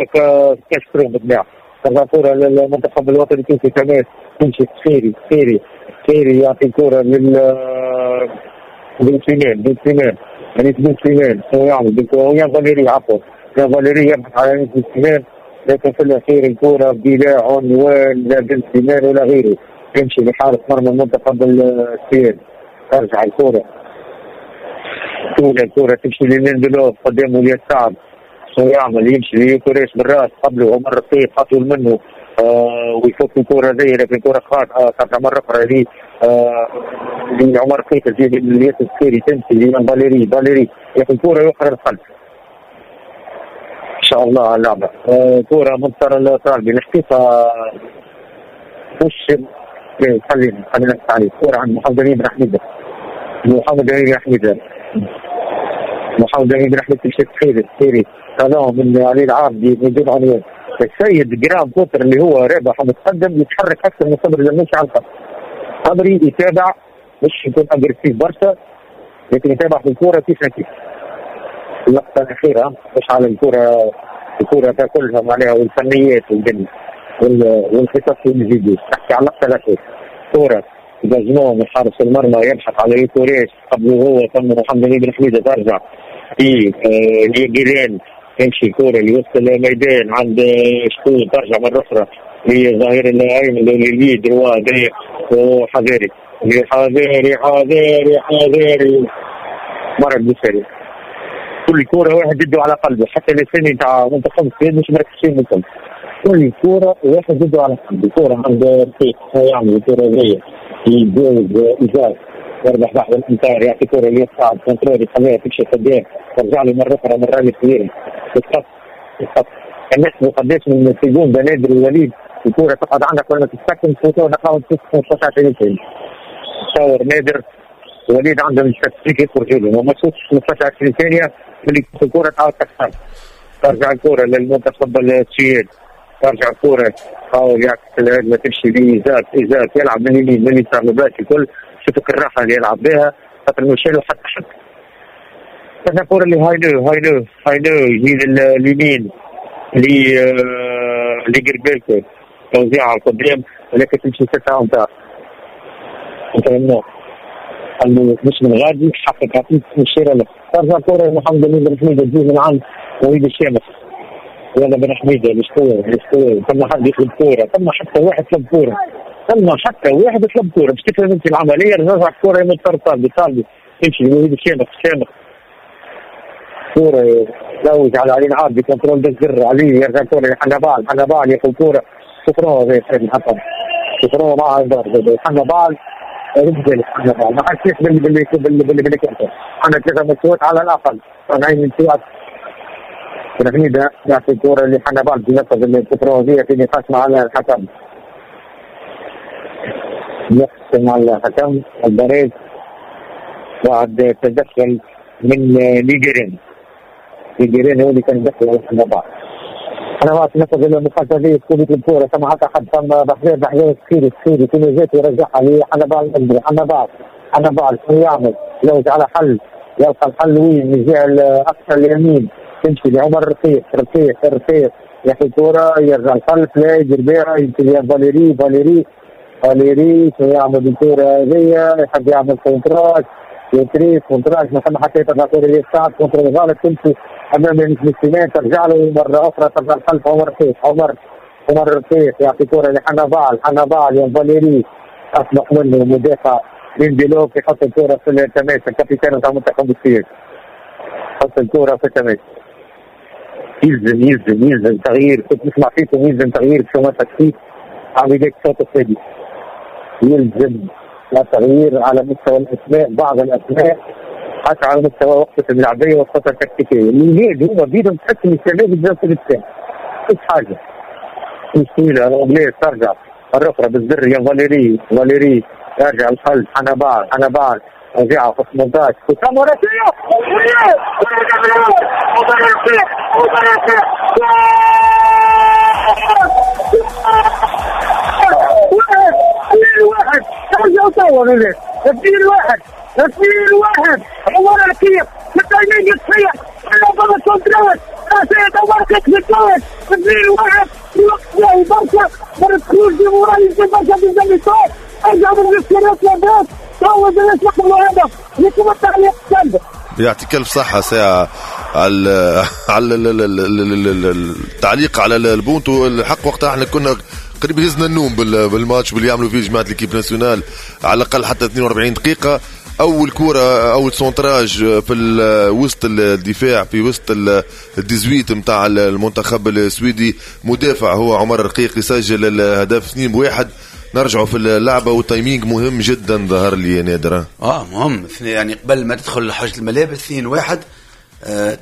Speaker 5: كاسترو بالطبيعة، ترجع الكرة للمنتخب الوطني التونسي كمان، تمشي خيري خيري خيري يعطي الكرة لل بن سليمان، بن سليمان انيس بن سليمان شنو يعمل؟ يا فاليري عفوا يا فاليري يبحث على انيس بن سليمان، لكن في الاخير الكرة بلا عنوان لا بن سليمان ولا غيره، تمشي لحارس مرمى المنتخب السويدي. ترجع الكرة طول الكرة تمشي للندلوف قدامه اليسار، شنو يعمل؟ يمشي ليوكوريش بالراس قبله عمر رقيق اطول منه ويفك الكرة زي، لكن الكرة خاطئة ترجع مرة أخرى لعمر رقيق تجي للياس السكيري، تمشي لفاليري، فاليري ياخذ الكرة يوخر الخلف. إن شاء الله على اللعبة كرة منتصر الطالبي الحقيقة مش خلينا نحكي عليه. كرة عند محمد أمين بن حميدة، محمد أمين بن حميدة، محمد أمين بن حميدة تمشي خيري خيري هذا من علي العابدي من دون عنوان. السيد جرام كوتر اللي هو رابح ومتقدم يتحرك اكثر من صبري لمشي على الخط. صبري يتابع مش يكون agressif برشا، لكن يتابع في الكورة كيف كيف. اللقطة الاخيرة مش على الكورة، الكورة تاكلها معناها والفنيات والدنيا والخطط والفيديو، تحكي على اللقطة الاخيرة. كورة dégagement من حارس المرمى يبحث على يوكوريش قبله هو، ثم محمد علي بن حميده ترجع في ليجيرين، تمشي الكره لوسط الميدان عند شكون، ترجع مرة اخرى لظهير الايمن اللي droit ضيق وحذاري حذاري حذاري حذاري مرة بالسريع. كل كورة واحد يده على قلبه، حتى الثاني تاع منتخب السويد مش مركزين منكم. كل كورة واحد يده على قلبه، كورة عند رفيق يعمل الكورة هذيا يتجاوز ايزاك يربح بعض الامتار، يعطي كورة ليصعد contrôle يخليها تمشي قدام، ترجع له مرة اخرى من راجل كبير تتقص تتقص. الناس قداش من seconde نادر الوليد الكورة تقعد عندك ولا تتسكن فوتو نقاو 15 20. تصور نادر وليد عندهم statistiques يخرجوا لهم وما تشوفش 15 20 ثانية اللي الكورة تعاود تكسر. ترجع الكورة للمنتخب السويد، ترجع الكورة حاول يعكس الهجمة تمشي لإيزاك، إيزاك يلعب من اليمين من اليسار مباشر الكل، شوفك الراحة اللي يلعب بها خاطر مش له حتى حد. ترجع الكورة اللي هايلو هايلو هايلو يجي لليمين لجربيلكو توزيعها قدام ولكن تمشي 6 امتار. قال له مش من غادي حقك عطيك الشيرة له. ترجع الكرة لمحمد أمين بن حميدة تجي من عند وليد الشامخ. يلا بن حميدة الاسطورة الاسطورة، ثم حد يطلب كورة، ثم حتى واحد طلب كورة، ثم حتى واحد طلب كورة باش تفهم انت العملية. رجع الكورة يمد طالبي طالبي تمشي لوليد الشامخ، الشامخ كورة يزوج على علي العابدي contrôle بالزر علي يرجع الكورة لحنبال، حنبال ياخذ كورة شكرا زي سيد الحسن شكرا مع حنبال رجل حنبال ما حدش باللي باللي باللي باللي عندنا 3 ماتشات على الاقل طالعين من سوات. بن يعطي الكورة اللي حنبال بينفذ الكره في نقاش مع الحكم، نقاش مع الحكم الباريز بعد تدخل من ليجرين. ليجرين هو اللي كان دخل على حنبال. حنبال نفذ المخالفة هذه تكون الكورة ثم حتى حد ثم بحذير بحذير سخيري سخيري كل جات يرجعها لحنبال. حنبال حنبال شنو يعمل؟ يلوج على حل، يلقى الحل وين؟ من الجهة الاقصى اليمين تمشي لعمر رفيق رفيق رفيق ياخذ كورة يرجع الخلف لا يدير بها يمشي فاليري فاليري فاليري شنو يعمل بالكورة هذيا؟ يحب يعمل centrage يتريس centrage ما ثم حتى يطلع كورة يسار contrôle غلط تمشي امام المسلمين ترجع له مرة اخرى ترجع الخلف عمر رفيق عمر عمر رفيق يعطي كورة لحنبال حنبال يا فاليري اطلق منه مدافع لينديلوف يحط الكورة في التماس ال capitaine تاع منتخب السويد يحط الكورة في التماس. يلزم يلزم يلزم تغيير، كنت نسمع فيكم يلزم تغيير في tactique على بداية الشوط الثاني. يلزم تغيير على مستوى الاسماء، بعض الاسماء حتى على مستوى وقفه الملعبيه والخطه التكتيكيه. اللي هما بيدهم تحس ان الشباب بزاف في الثاني مش حاجة مش طويلة. الاغنية ترجع مرة اخرى بالزر يا فاليري فاليري يرجع الخلف حنبال حنبال رجع في 18
Speaker 6: واحد ترجعوا توا 2-1 2-1 عمر الكيف التايمين يتصيح على contrôle راسية عمر الكيف 2-1 في وقت باهي برشا برشا دي موراي برشا بالزميطات ارجعوا من الاختيارات لاباس توا يطلقوا الهدف يكون التعليق السلبي.
Speaker 1: يعطيك الف صحة ساعة على على التعليق على البونتو. الحق وقتها احنا كنا قريب هزنا النوم بالماتش واللي يعملوا فيه جماعة l'équipe nationale على الأقل حتى 42 دقيقة. أول كرة أول centrage في وسط الدفاع في وسط ال dix-huit متاع المنتخب السويدي، مدافع هو عمر الرقيق يسجل الهدف 2-1. نرجعوا في اللعبة وال timing مهم جدا ظهر لي نادر.
Speaker 3: مهم يعني قبل ما تدخل حوجة الملابس 2-1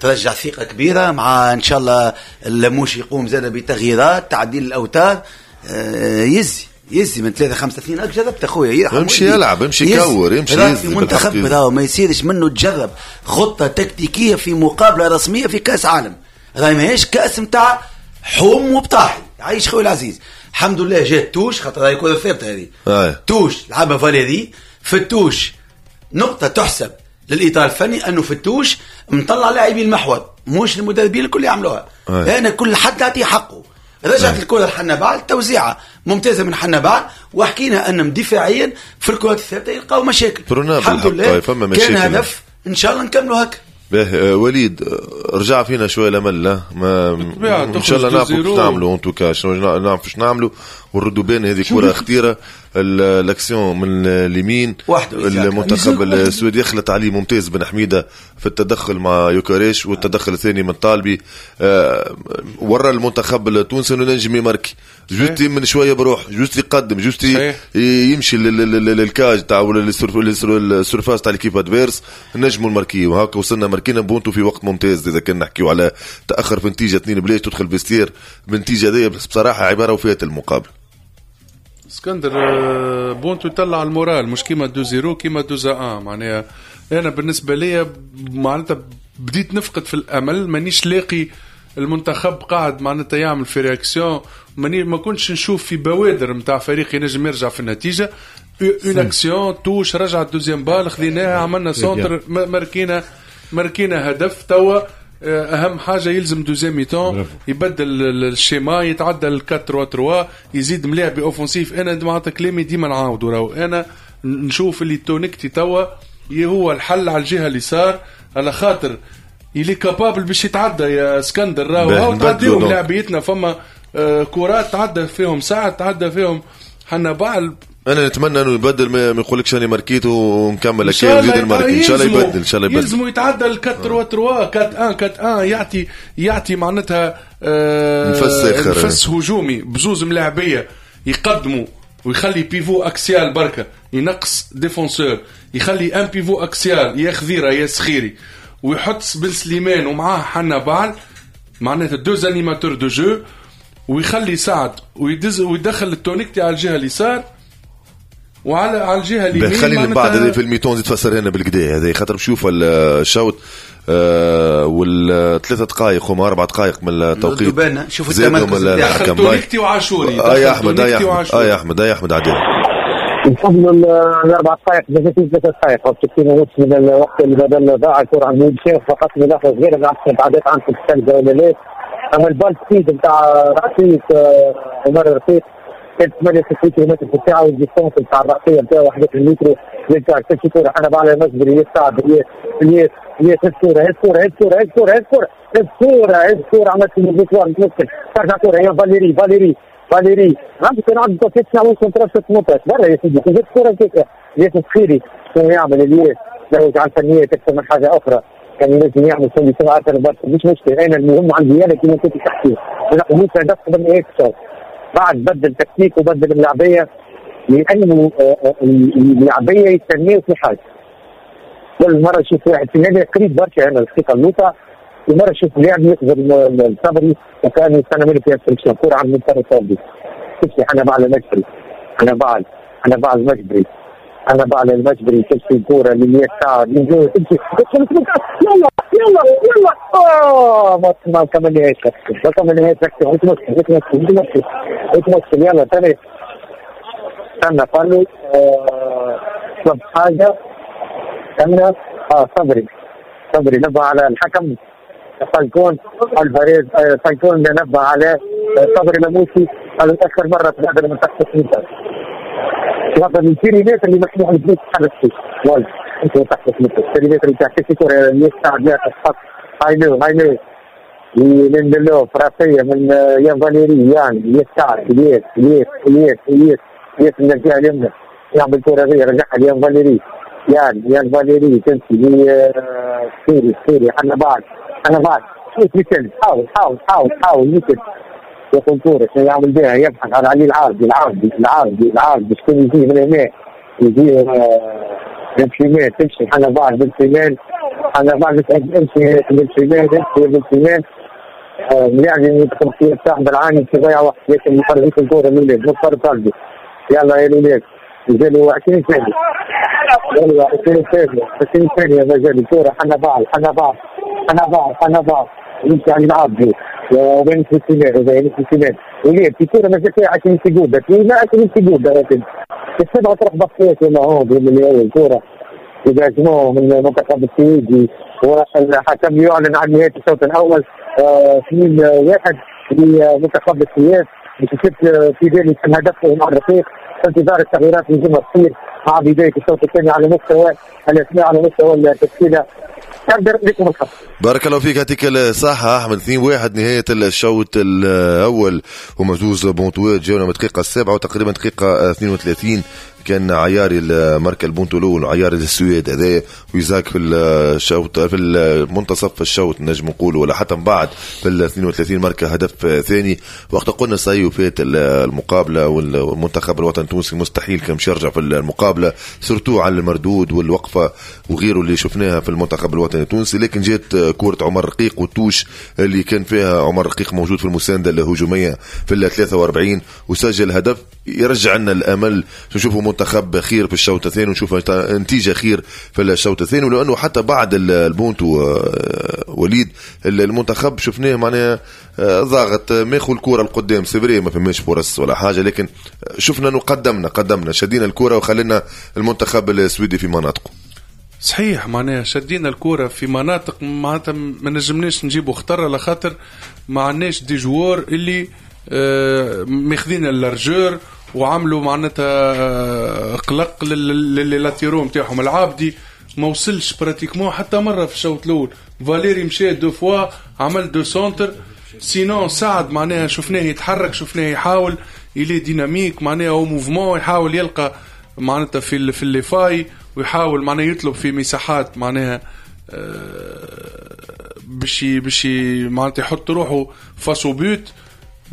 Speaker 3: ترجع ثقة كبيرة مع إن شاء الله اللموش يقوم زاد بتغييرات تعديل الأوتار. يزي من 3-5-2 أك جربت أخويا
Speaker 1: امشي يلعب امشي كور امشي
Speaker 3: يزي في منتخب راهو ما يصيرش منه تجرب خطة تكتيكية في مقابلة رسمية في كأس عالم، راهي ماهيش كأس متاع حوم وبطاحي. عايش خويا العزيز الحمد لله جات touche خاطر هاي كرة ثابتة هذه touche لعبها فاليري في ال touche. نقطة تحسب للإطار الفني أنه في ال touche مطلع لاعبين المحور مش المدربين الكل يعملوها. أنا كل حد يعطيه حقه. رجعت الكره لحنبعل، توزيعه ممتازة من حنبعل، وحكينا انهم دفاعيا في الكرات الثابتة يلقاو مشاكل. الحمد لله كان هدف، ان شاء الله نكملوا هكا.
Speaker 1: باهي وليد، رجع فينا شوية الامل. لا ما ان شاء الله نعرفوا كيف نعملوا، en tout cas شنو نعرفوا شنو نعملوا ونردوا بالنا. هذه كره خطيرة، الاكسيون من اليمين المنتخب السويدي يخلط عليه ممتاز بن حميده في التدخل مع يوكاريش، والتدخل الثاني من طالبي. ورا المنتخب التونسي انه نجم يماركي، juste من شوية بروح، juste يقدم، juste يمشي لل cage تاع ولا ال surface تاع l'équipe adverse، نجموا نماركيو. وهكا وصلنا ماركينا بونتو في وقت ممتاز. اذا كنا نحكيو على تاخر في نتيجة 2-0 تدخل vestiaire بالنتيجة هذه بصراحة عبارة وفات المقابل.
Speaker 2: اسكندر بونتو يطلع ال moral، مش كيما 2-0 كيما 2-1. معناها انا بالنسبة لي معناتها بديت نفقد في الامل، مانيش لاقي المنتخب قاعد معناتها يعمل في réaction، ما كنتش نشوف في بوادر نتاع فريق ينجم يرجع في النتيجة. une action touche رجعت deuxième balle خذيناها، عملنا centre، ماركينا هدف. توا اهم حاجة يلزم deuxième mi-temps يبدل ال schéma، يتعدى ال 4-3-3، يزيد ملاعب offensif. انا معناتها كلامي ديما نعاودو، راهو انا نشوف اللي تونكتي توا هو الحل على الجهة اليسار، على خاطر il est capable باش يتعدى يا اسكندر. راهو تعديهم لاعبيتنا، فما كرات تعدى فيهم ساعة، تعدى فيهم حنبعل.
Speaker 1: انا نتمنى انه يبدل، ما يقولكش انا ماركيت ونكمل هكا ويزيد الماركي. ان شاء الله يبدل، ان شاء الله يبدل.
Speaker 2: يلزموا يتعدى ال 4-3-3 4-1 4-1، يعطي معناتها نفس هجومي بزوز ملاعبيه يقدموا، ويخلي pivot axial بركة، ينقص défenseur، يخلي un pivot axial يا خذيره يا سخيري، ويحط بن سليمان ومعاه حنبعل معناتها deux animateurs de jeu، ويخلي سعد ويدز ويدخل التونكتي على الجهة اليسار وعلى على الجهة اليمين.
Speaker 1: خلينا من بعد في ال mi-temps زيد تفسر هنا بالكدا هذا، خاطر بشوف الشوط والثلاث دقائق هما 4 دقائق من التوقيت.
Speaker 3: شوف التمركز
Speaker 2: دخل تونكتي وعاشوري.
Speaker 1: يا احمد يا احمد يا احمد عادل
Speaker 5: نفضل الاربع دقائق ثلاث دقائق وستين ونص من الوقت اللي بدل ضاع الكره عند ميشيل. فقط ملاحظة صغيرة، ما عرفتش تعدات عندكم الثالثة ولا لا، اما ال balle speed نتاع رقيق عمر رقيق كانت 68 كيلومتر في الساعة، وال distance نتاع الرأسية نتاعو 11 متر. يرجع تمشي كره حنبعل المجبري يصعد الياس الياس الكره الكره الكره الكره الكره الكره الكره عملت المشوار متمكن، ترجع كره يا فاليري فاليري فاليري عندك كان عنده 9 18 برا يا سيدي، جبت كره كيكة الياس السخيري شنو يعمل الياس؟ لو على الفنيات اكثر من حاجة اخرى كان ينجم يعمل solution اكثر برشا، مش مشكلة. انا المهم عندي انا كيما كنت تحكي ما هدف قبل نهاية الشوط. بعد بدل تكتيك وبدل اللعبيه، لانه اللعبيه يستناو في حاجة. كل مرة نشوف واحد في النادي قريب برشا انا الدقيقة اللوطه، ومرة نشوف لاعب يقدر الصبري وكان يستنى منه في instruction كره عند منتصر الصبري تمشي حنبعل المجبري، حنبعل حنبعل المجبري حنبعل المجبري، تمشي الكره لليسار تمشي يلا يلا يلا ما كملناش ما كملناش مش مشكل مش مشكل يلا ثاني استنى قالوا طلب حاجة استنى صبري صبري نبه على الحكم فالكون الفريق فالكون نبه على صبري لموسي قال اخر مرة تغادر من تحت المتر هذا البيريمتر اللي مسموح لك تتحرك فيه والله انت تحت المتر البيريمتر اللي تحت الكره يستعد لها تحط هاي هاي ليندلوف راسية من يان فاليري يعني يسار الياس الياس الياس الياس الياس من الجهة اليمنى يعمل كره هذه رجعها ليان فاليري يان فاليري تمشي سيري سيري حنبعل حنبعل شوف مثل حاول حاول حاول حاول مثل ياخذ كورة شنو يعمل بها يبحث على علي العابدي العابدي العابدي العابدي شكون يجي من هنا يجي بن سليمان تمشي حنبعل بن سليمان حنبعل امشي بن سليمان امشي بن سليمان يعني يدخل في صاحب العاني في ضيع وقت لكن يخرج الكورة من الولاد مصطفى طالبي يلا يا الولاد مازالوا 20 ثانية يلا 20 ثانية 20 ثانية مازال الكورة حنبعل حنبعل حنبعل حنبعل يمشي على العابدي وبين سليمان وبين سليمان ولاد في كورة مازال فيها 20 secondes لا 20 secondes لكن السبعة تروح بطيت ولا هون من الكورة يجاجموه من المنتخب السويدي والحكم يعلن عن نهاية الشوط الأول 2-1. لمنتخب السويد باش يثبت في ذلك الهدف مع الرقيق. في انتظار التغييرات اللي لازم تصير مع بداية الشوط الثاني على مستوى الاسماء على مستوى التشكيلة. لكم الخط.
Speaker 1: بارك الله فيك، يعطيك الصحة أحمد. 2-1 نهاية الشوط الأول، هما زوز بونتوات جاونا من الدقيقة 7 وتقريبا دقيقة 32 كان عياري ماركا البونتو الاول عياري السويد هذا ويزاك في الشوط في المنتصف الشوط نجم نقولوا ولا حتى من بعد في ال 32 ماركا هدف ثاني. وقت قلنا ça y est فات المقابلة والمنتخب الوطني التونسي مستحيل كان باش يرجع في المقابلة surtout على المردود والوقفه وغيره اللي شفناها في المنتخب الوطني التونسي، لكن جات كره عمر رقيق وال touche اللي كان فيها عمر رقيق موجود في المساندة الهجومية في ال 43 وسجل هدف يرجع لنا الامل نشوفوا منتخب خير في الشوط الثاني ونشوف نتيجة خير في الشوط الثاني. ولانه حتى بعد البونتو وليد المنتخب شفناه معناها ضاغط ماخذ الكره القدام، c'est vrai ما فماش فرص ولا حاجة، لكن شفنا انه قدمنا شدينا الكره وخلينا المنتخب السويدي في مناطقه.
Speaker 2: صحيح معناها شدينا الكره في مناطق معناتها ما نجمناش نجيبوا خطر على خاطر ما عندناش des joueurs اللي ماخذين ال largeur وعملوا معناتها قلق لل latéraux نتاعهم. العابدي ما وصلش pratiquement حتى مرة في الشوط الاول، فاليري مشى deux fois عمل deux centres، sinon سعد معناها شفناه يتحرك، شفناه يحاول il est dynamique معناها au mouvement، يحاول يلقى معناتها في les failles ويحاول معناها يطلب في مساحات معناها باش معناتها يحط روحه face au but.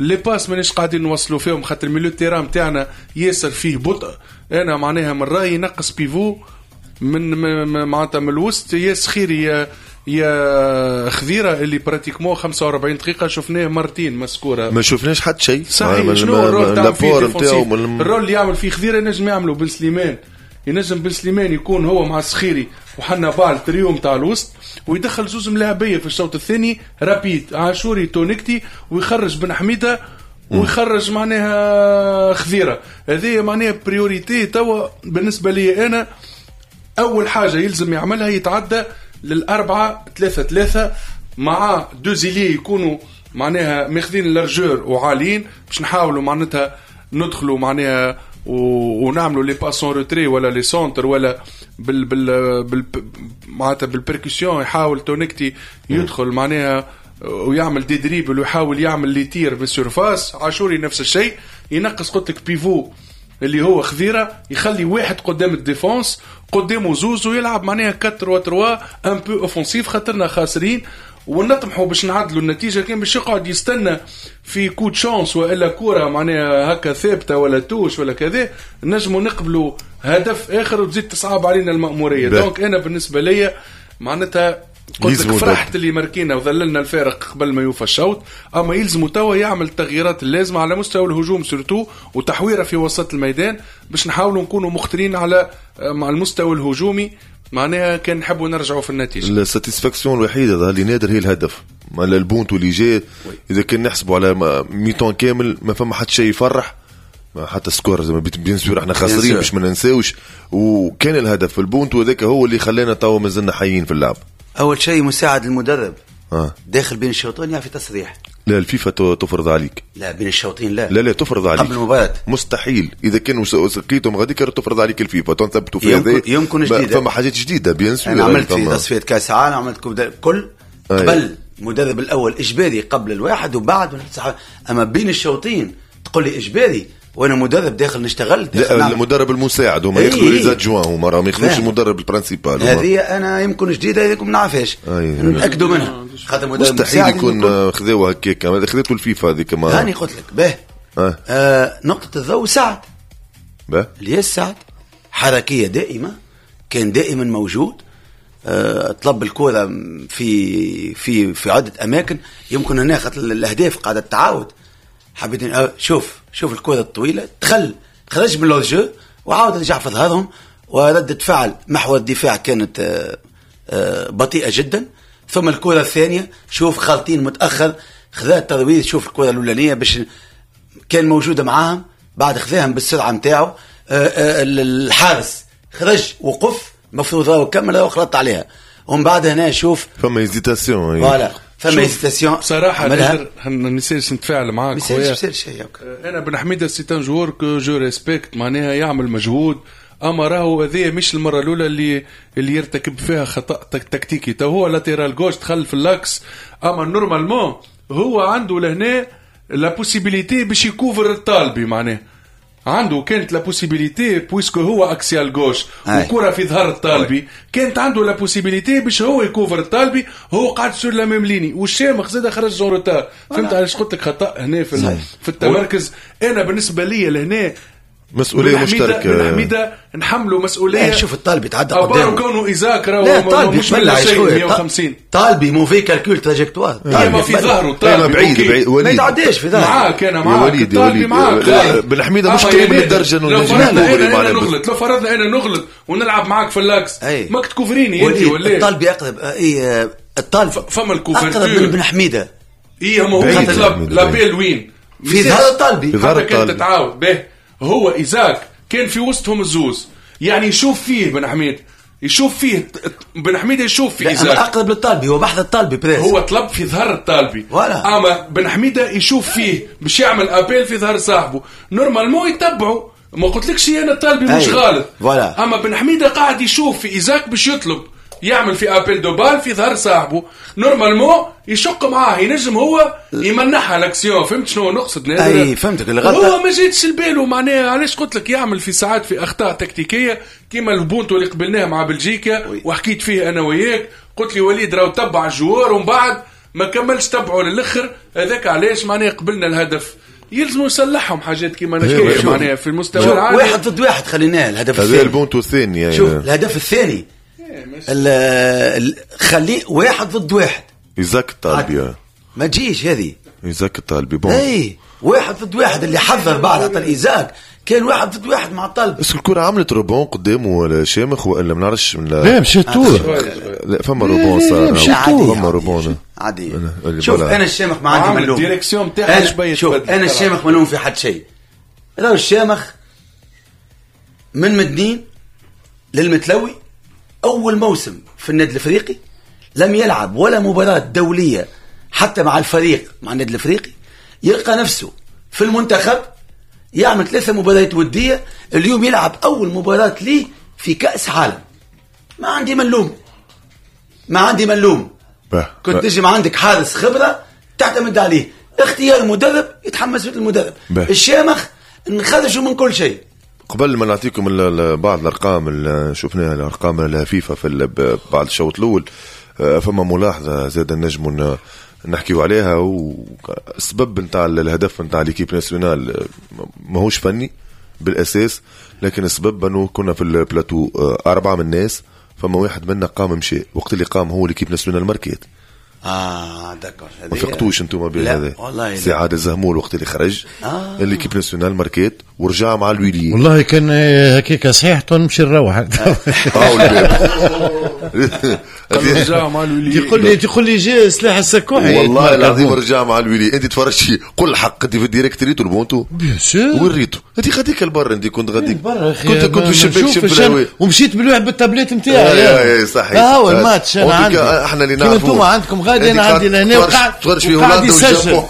Speaker 2: les passes مانيش قاعدين نوصلوا فيهم خاطر milieu terrain تاعنا ياسر فيه بطء. انا معناها من رايي نقص pivot من معناتها من الوسط، يا سخيري يا خذيره اللي pratiquement 45 دقيقة شفناه مرتين مسكوره
Speaker 1: ما شفناش حتى شيء.
Speaker 2: صحيح شنو ال rôle تاع فيه ال rôle اللي يعمل فيه خذيره ينجم يعمله بن سليمان، ينجم بن سليمان يكون هو مع السخيري وحنا بال تريوم تاع الوسط ويدخل زوز ملاعبيه في الشوط الثاني rapide عاشوري تونكتي ويخرج بن حميده ويخرج معناها خذيره. هذه معناها priorité توا بالنسبة لي انا. اول حاجة يلزم يعملها يتعدى 4-3-3 مع deux ailiers يكونوا معناها ماخذين largeur وعاليين باش نحاولوا معناتها ندخلوا معناها ونعملوا les passes en retrait ولا les centres ولا بال بال بال معناتها بال percussion. يحاول تونكتي يدخل معناها ويعمل des dribbles ويحاول يعمل les tirs بال surface. عاشوري نفس الشيء، ينقص قلت لك pivot اللي هو خذيره، يخلي واحد قدام ال défense قدامه زوز ويلعب معناها 4-3 un peu offensif خاطرنا خاسرين ونطمحوا باش نعدلوا النتيجة. كان باش يقعد يستنى في coup de chance والا كورة معناها هكا ثابتة ولا touche ولا كذا نجموا نقبلوا هدف اخر وتزيد تصعب علينا المأموريه. donc انا بالنسبة لي معناتها قلت لك فرحت اللي ماركينا وذللنا الفارق قبل ما يوفى الشوط، اما يلزموا توا يعمل التغييرات اللازمة على مستوى الهجوم surtout وتحويره في وسط الميدان باش نحاولوا نكونوا مخطرين على مع المستوى الهجومي معناها كان نحبوا نرجعوا في النتيجة.
Speaker 1: ال satisfaction الوحيدة اللي نادر هي الهدف البونتو اللي جاي. اذا كان نحسبوا على mi-temps كامل ما فما حتى شيء يفرح، حتى score زي ما bien sûr احنا خاسرين باش ما ننساوش، وكان الهدف البونتو هذاك هو اللي خلانا توا مازلنا حيين في اللعب.
Speaker 3: اول شيء مساعد المدرب داخل بين الشوطين يعني في تصريح.
Speaker 1: لا الفيفا تفرض عليك.
Speaker 3: لا بين الشوطين لا.
Speaker 1: لا تفرض عليك
Speaker 3: قبل المباراة
Speaker 1: مستحيل. اذا كانوا سقيتهم غادي تفرض عليك الفيفا تنثبتوا في هذا.
Speaker 3: يمكن جديدة
Speaker 1: فما حاجات جديدة bien sûr.
Speaker 3: انا عملت في تصفية كاس عالم عملت كل قبل المدرب الاول اجباري قبل الواحد وبعد، اما بين الشوطين تقول لي اجباري وانا مدرب داخل نشتغل داخل.
Speaker 1: لا المدرب المساعد هما ياخذوا les adjoints هما راهم ياخذوش المدرب ال principal.
Speaker 3: هذه انا يمكن جديدة هذيك ما نعرفهاش نتاكدوا منها خاطر المدرب
Speaker 1: مستحيل يكون خذاوها هكاك خذيته الفيفا هذيك. ما
Speaker 3: هاني قلت لك به نقطة الضوء سعد به الياس سعد حركية دائمة كان دائما موجود، طلب الكره في في في عده اماكن. يمكن هنا خاطر الاهداف قاعدة تعاود. حبيت شوف الكرة الطويلة دخل خرج من ال hors-jeu وعاود رجع في ظهرهم، وردة فعل محور الدفاع كانت بطيئة جدا. ثم الكرة الثانية شوف خالطين متأخر خذا الترويض، شوف الكرة الأولانية باش كان موجودة معاهم بعد خذاهم بالسرعة متاعه. الحارس خرج وقف مفروض راهو كمل وخلط عليها، ومن بعد هنا شوف
Speaker 1: فما hésitation
Speaker 3: voilà. فما hésitation
Speaker 2: بصراحة ما نسالش نتفاعل معاك خويا،
Speaker 3: ما يصيرش شيء.
Speaker 2: انا بن حميده c'est un joueur que je respecte، معناها يعمل مجهود، اما راهو هذه مش المرة الاولى اللي يرتكب فيها خطا تكتيكي. تو هو latéral gauche دخل في l'axe، اما normalement هو عنده لهنا la possibilité باش يكوفر الطالبي، معناه عنده كانت la possibilité puisque هو axial gauche وكرة في ظهر الطالبي، كانت عنده la possibilité باش هو يكوفر الطالبي، هو قاعد sur la même ligne، والشامخ زاد خرج en retard. فهمت علاش قلت لك خطا هنا في التمركز. انا بالنسبة لي لهنا
Speaker 1: مسؤولية مشتركة،
Speaker 2: بن حميده نحمله مسؤولية.
Speaker 3: شوف الطالبي تعدى قدامه
Speaker 2: كونه ايزاك راهو مش 150
Speaker 3: طالبي mauvais calcul trajectoire،
Speaker 2: طالبي في ظهره، طالبي
Speaker 1: بعيد
Speaker 3: ما يتعداش في ظهره.
Speaker 2: معاك انا معاك طالبي معاك.
Speaker 1: بن حميده مش قريب للدرجة انه
Speaker 2: نغلط. لو فرضنا انا نغلط ونلعب معاك في l'axe ماك تكوفريني انت ولا
Speaker 3: الطالبي اقرب. اي الطالب
Speaker 2: فما ال couverture
Speaker 3: اقرب من بن حميده.
Speaker 2: اي هو l'appel وين
Speaker 3: في ظهر الطالبي
Speaker 2: حتى كانت تتعاود به. هو إيزاك كان في وسطهم الزوز، يعني يشوف فيه بن حميد، يشوف فيه بن حميد، يشوف في إيزاك
Speaker 3: أقرب للطالبي، هو بحث الطالبي presque،
Speaker 2: هو طلب في ظهر الطالبي، أما بن حميدة يشوف فيه باش يعمل appel في ظهر صاحبه، normalement يتبعه. ما قلتلكش أنا الطالبي مش غلط، أما بن حميدة قاعد يشوف في إيزاك باش يطلب يعمل في appel de balle في ظهر صاحبه، normalement يشق معاه، ينجم هو يمنحها l'action. فهمت شنو نقصد؟
Speaker 3: اي فهمتك. الغلطة
Speaker 2: هو ما جاتش لباله، معناها علاش قلت لك يعمل في ساعات في اخطاء تكتيكية كيما البونتو اللي قبلناه مع بلجيكا وحكيت فيه انا وياك، قلت لي وليد راهو تبع ال joueur ومن بعد ما كملش تبعه للاخر، هذاك علاش معناها قبلنا الهدف. يلزموا يصلحهم حاجات كيما نحكي معناها في المستوى العالي.
Speaker 3: واحد ضد واحد خليناه الهدف الثاني،
Speaker 1: هذا البونتو الثاني يعني.
Speaker 3: شوف الهدف الثاني خليه واحد ضد واحد،
Speaker 1: إيزاك الطالبي
Speaker 3: ما تجيش هذه،
Speaker 1: إيزاك الطالبي bon،
Speaker 3: اي واحد ضد واحد اللي حذر بعد عطى الإيزاك كان واحد ضد واحد مع الطالب.
Speaker 1: بس الكرة عملت rebond قدامه ولا شامخ ولا ما نعرفش.
Speaker 4: لا مشيت طول،
Speaker 1: لا فما rebond صار، فما rebond
Speaker 3: عادي. شوف انا الشامخ ما عندي ملوم،
Speaker 2: ال direction تاعها شوية.
Speaker 3: شوف انا الشامخ ملوم في حد شيء. لو الشامخ من مدنين للمتلوي أول موسم في النادي الأفريقي لم يلعب ولا مباراة دولية حتى مع الفريق مع النادي الأفريقي، يلقى نفسه في المنتخب يعمل 3 مباريات ودية، اليوم يلعب أول مباراة ليه في كأس عالم. ما عندي ملوم، ما عندي ملوم. كنت تجي ما عندك حارس خبرة تعتمد عليه، اختيار مدرب يتحمس مثل المدرب. الشامخ نخرجه من كل شيء.
Speaker 1: قبل ما نعطيكم بعض الارقام اللي شفناها، الارقام الفيفا في بعد الشوط الاول، فما ملاحظة زاد نجم نحكيو عليها. والسبب نتاع الهدف نتاع l'équipe nationale ماهوش فني بالاساس، لكن السبب انه كنا في البلاتو 4 من الناس، فما واحد منا قام مشى، وقت اللي قام هو l'équipe nationale ماركيت.
Speaker 3: d'accord،
Speaker 1: ما فقتوش انتم بهذا؟ سي عادل زهمول وقت اللي خرج l'équipe nationale ماركيت ورجع مع الويلي.
Speaker 4: والله كان هكاك صحيح تو نمشي نروح.
Speaker 2: رجع مع الويلي،
Speaker 4: تقول لي جا سلاح السكوحي.
Speaker 1: والله العظيم رجع مع الويلي. انت تفرجتي قل الحق، انت في ال direct ريتو البونتو
Speaker 4: bien sûr
Speaker 1: وين ريتو؟ انت غاديك البر، انت كنت غاديك كنت في الشباك شوف،
Speaker 4: ومشيت بالواحد بالتابليت نتاعي.
Speaker 1: صحيح
Speaker 4: هو الماتش انا عندي،
Speaker 1: احنا اللي نعرفوا
Speaker 4: عندكم غادي، انا عندي لهنا وقعد
Speaker 1: تفرج في هولندا والجابون.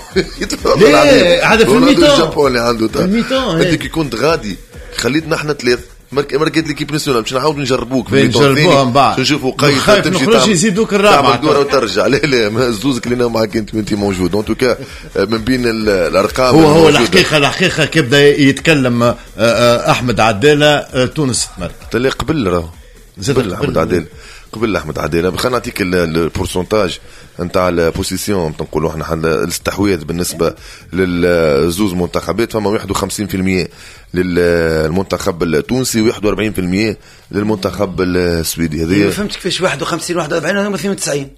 Speaker 4: لا هذا في ال mi-temps،
Speaker 1: الجابون اللي عنده ال mi-temps. انت كي كنت غادي خليتنا احنا 3 ماركيت l'équipe nationale باش نعاودوا نجربوك
Speaker 4: في نجربوها من بعد
Speaker 1: نشوفوا قيد
Speaker 4: تمشي تعمل يزيدوك الرابعة
Speaker 1: تعمل دوره وترجع. لا لا الزوز كلينا معك انت وانت موجود. en tout cas من بين الارقام
Speaker 4: هو الحقيقة كيبدا يتكلم احمد عدالة تونس تمرك
Speaker 1: اللي قبل راهو قبل احمد عدالة، قبل احمد عدالة. خلينا نعطيك ال pourcentage نتاع ال possession نقولوا احنا الاستحواذ بالنسبة للزوز منتخبات، فما 51% للمنتخب التونسي و41% للمنتخب السويدي.
Speaker 3: هذه ما فهمت كيفاش 51 41 هذوما 92.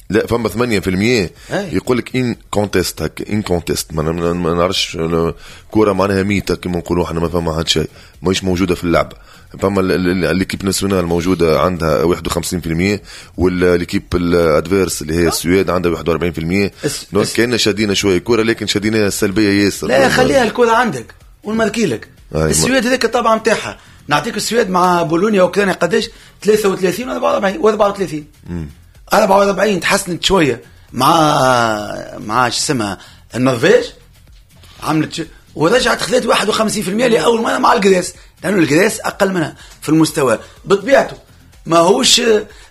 Speaker 1: لا فما 8% يقول لك incontesté، هكا incontesté ما نعرفش كورة معناها ميته كيما نقولوا احنا، ما فما حد شيء ماهيش موجودة في اللعبة. فما l'équipe nationale موجودة عندها 51% و l'équipe ال adverse اللي هي السويد عندها 41%. donc كان شادينا شوية كورة لكن شادينا السلبية ياسر.
Speaker 3: لا خليها الكورة عندك ونماركي لك. السويد هذاك الطبعة نتاعها، نعطيك السويد مع بولونيا واوكرانيا قداش 33 و 44 و 34 44 تحسنت شوية مع شو اسمها النرويج، عملت ورجعت خذت 51% لاول مرة مع ال Grèce، لانه ال Grèce اقل منها في المستوى بطبيعته. ما هوش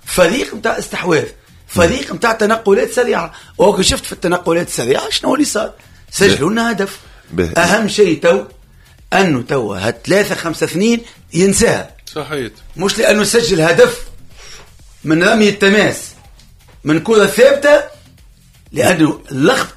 Speaker 3: فريق نتاع استحواذ، فريق نتاع تنقلات سريعه، وهو شفت في التنقلات السريعة شنو اللي صار، سجلوا لنا هدف. اهم شيء تو انه تو هاد 3-5-2 ينساها.
Speaker 2: صحيح،
Speaker 3: مش لانه سجل هدف من رمي التماس من كره ثابته، لانه اللخبطة.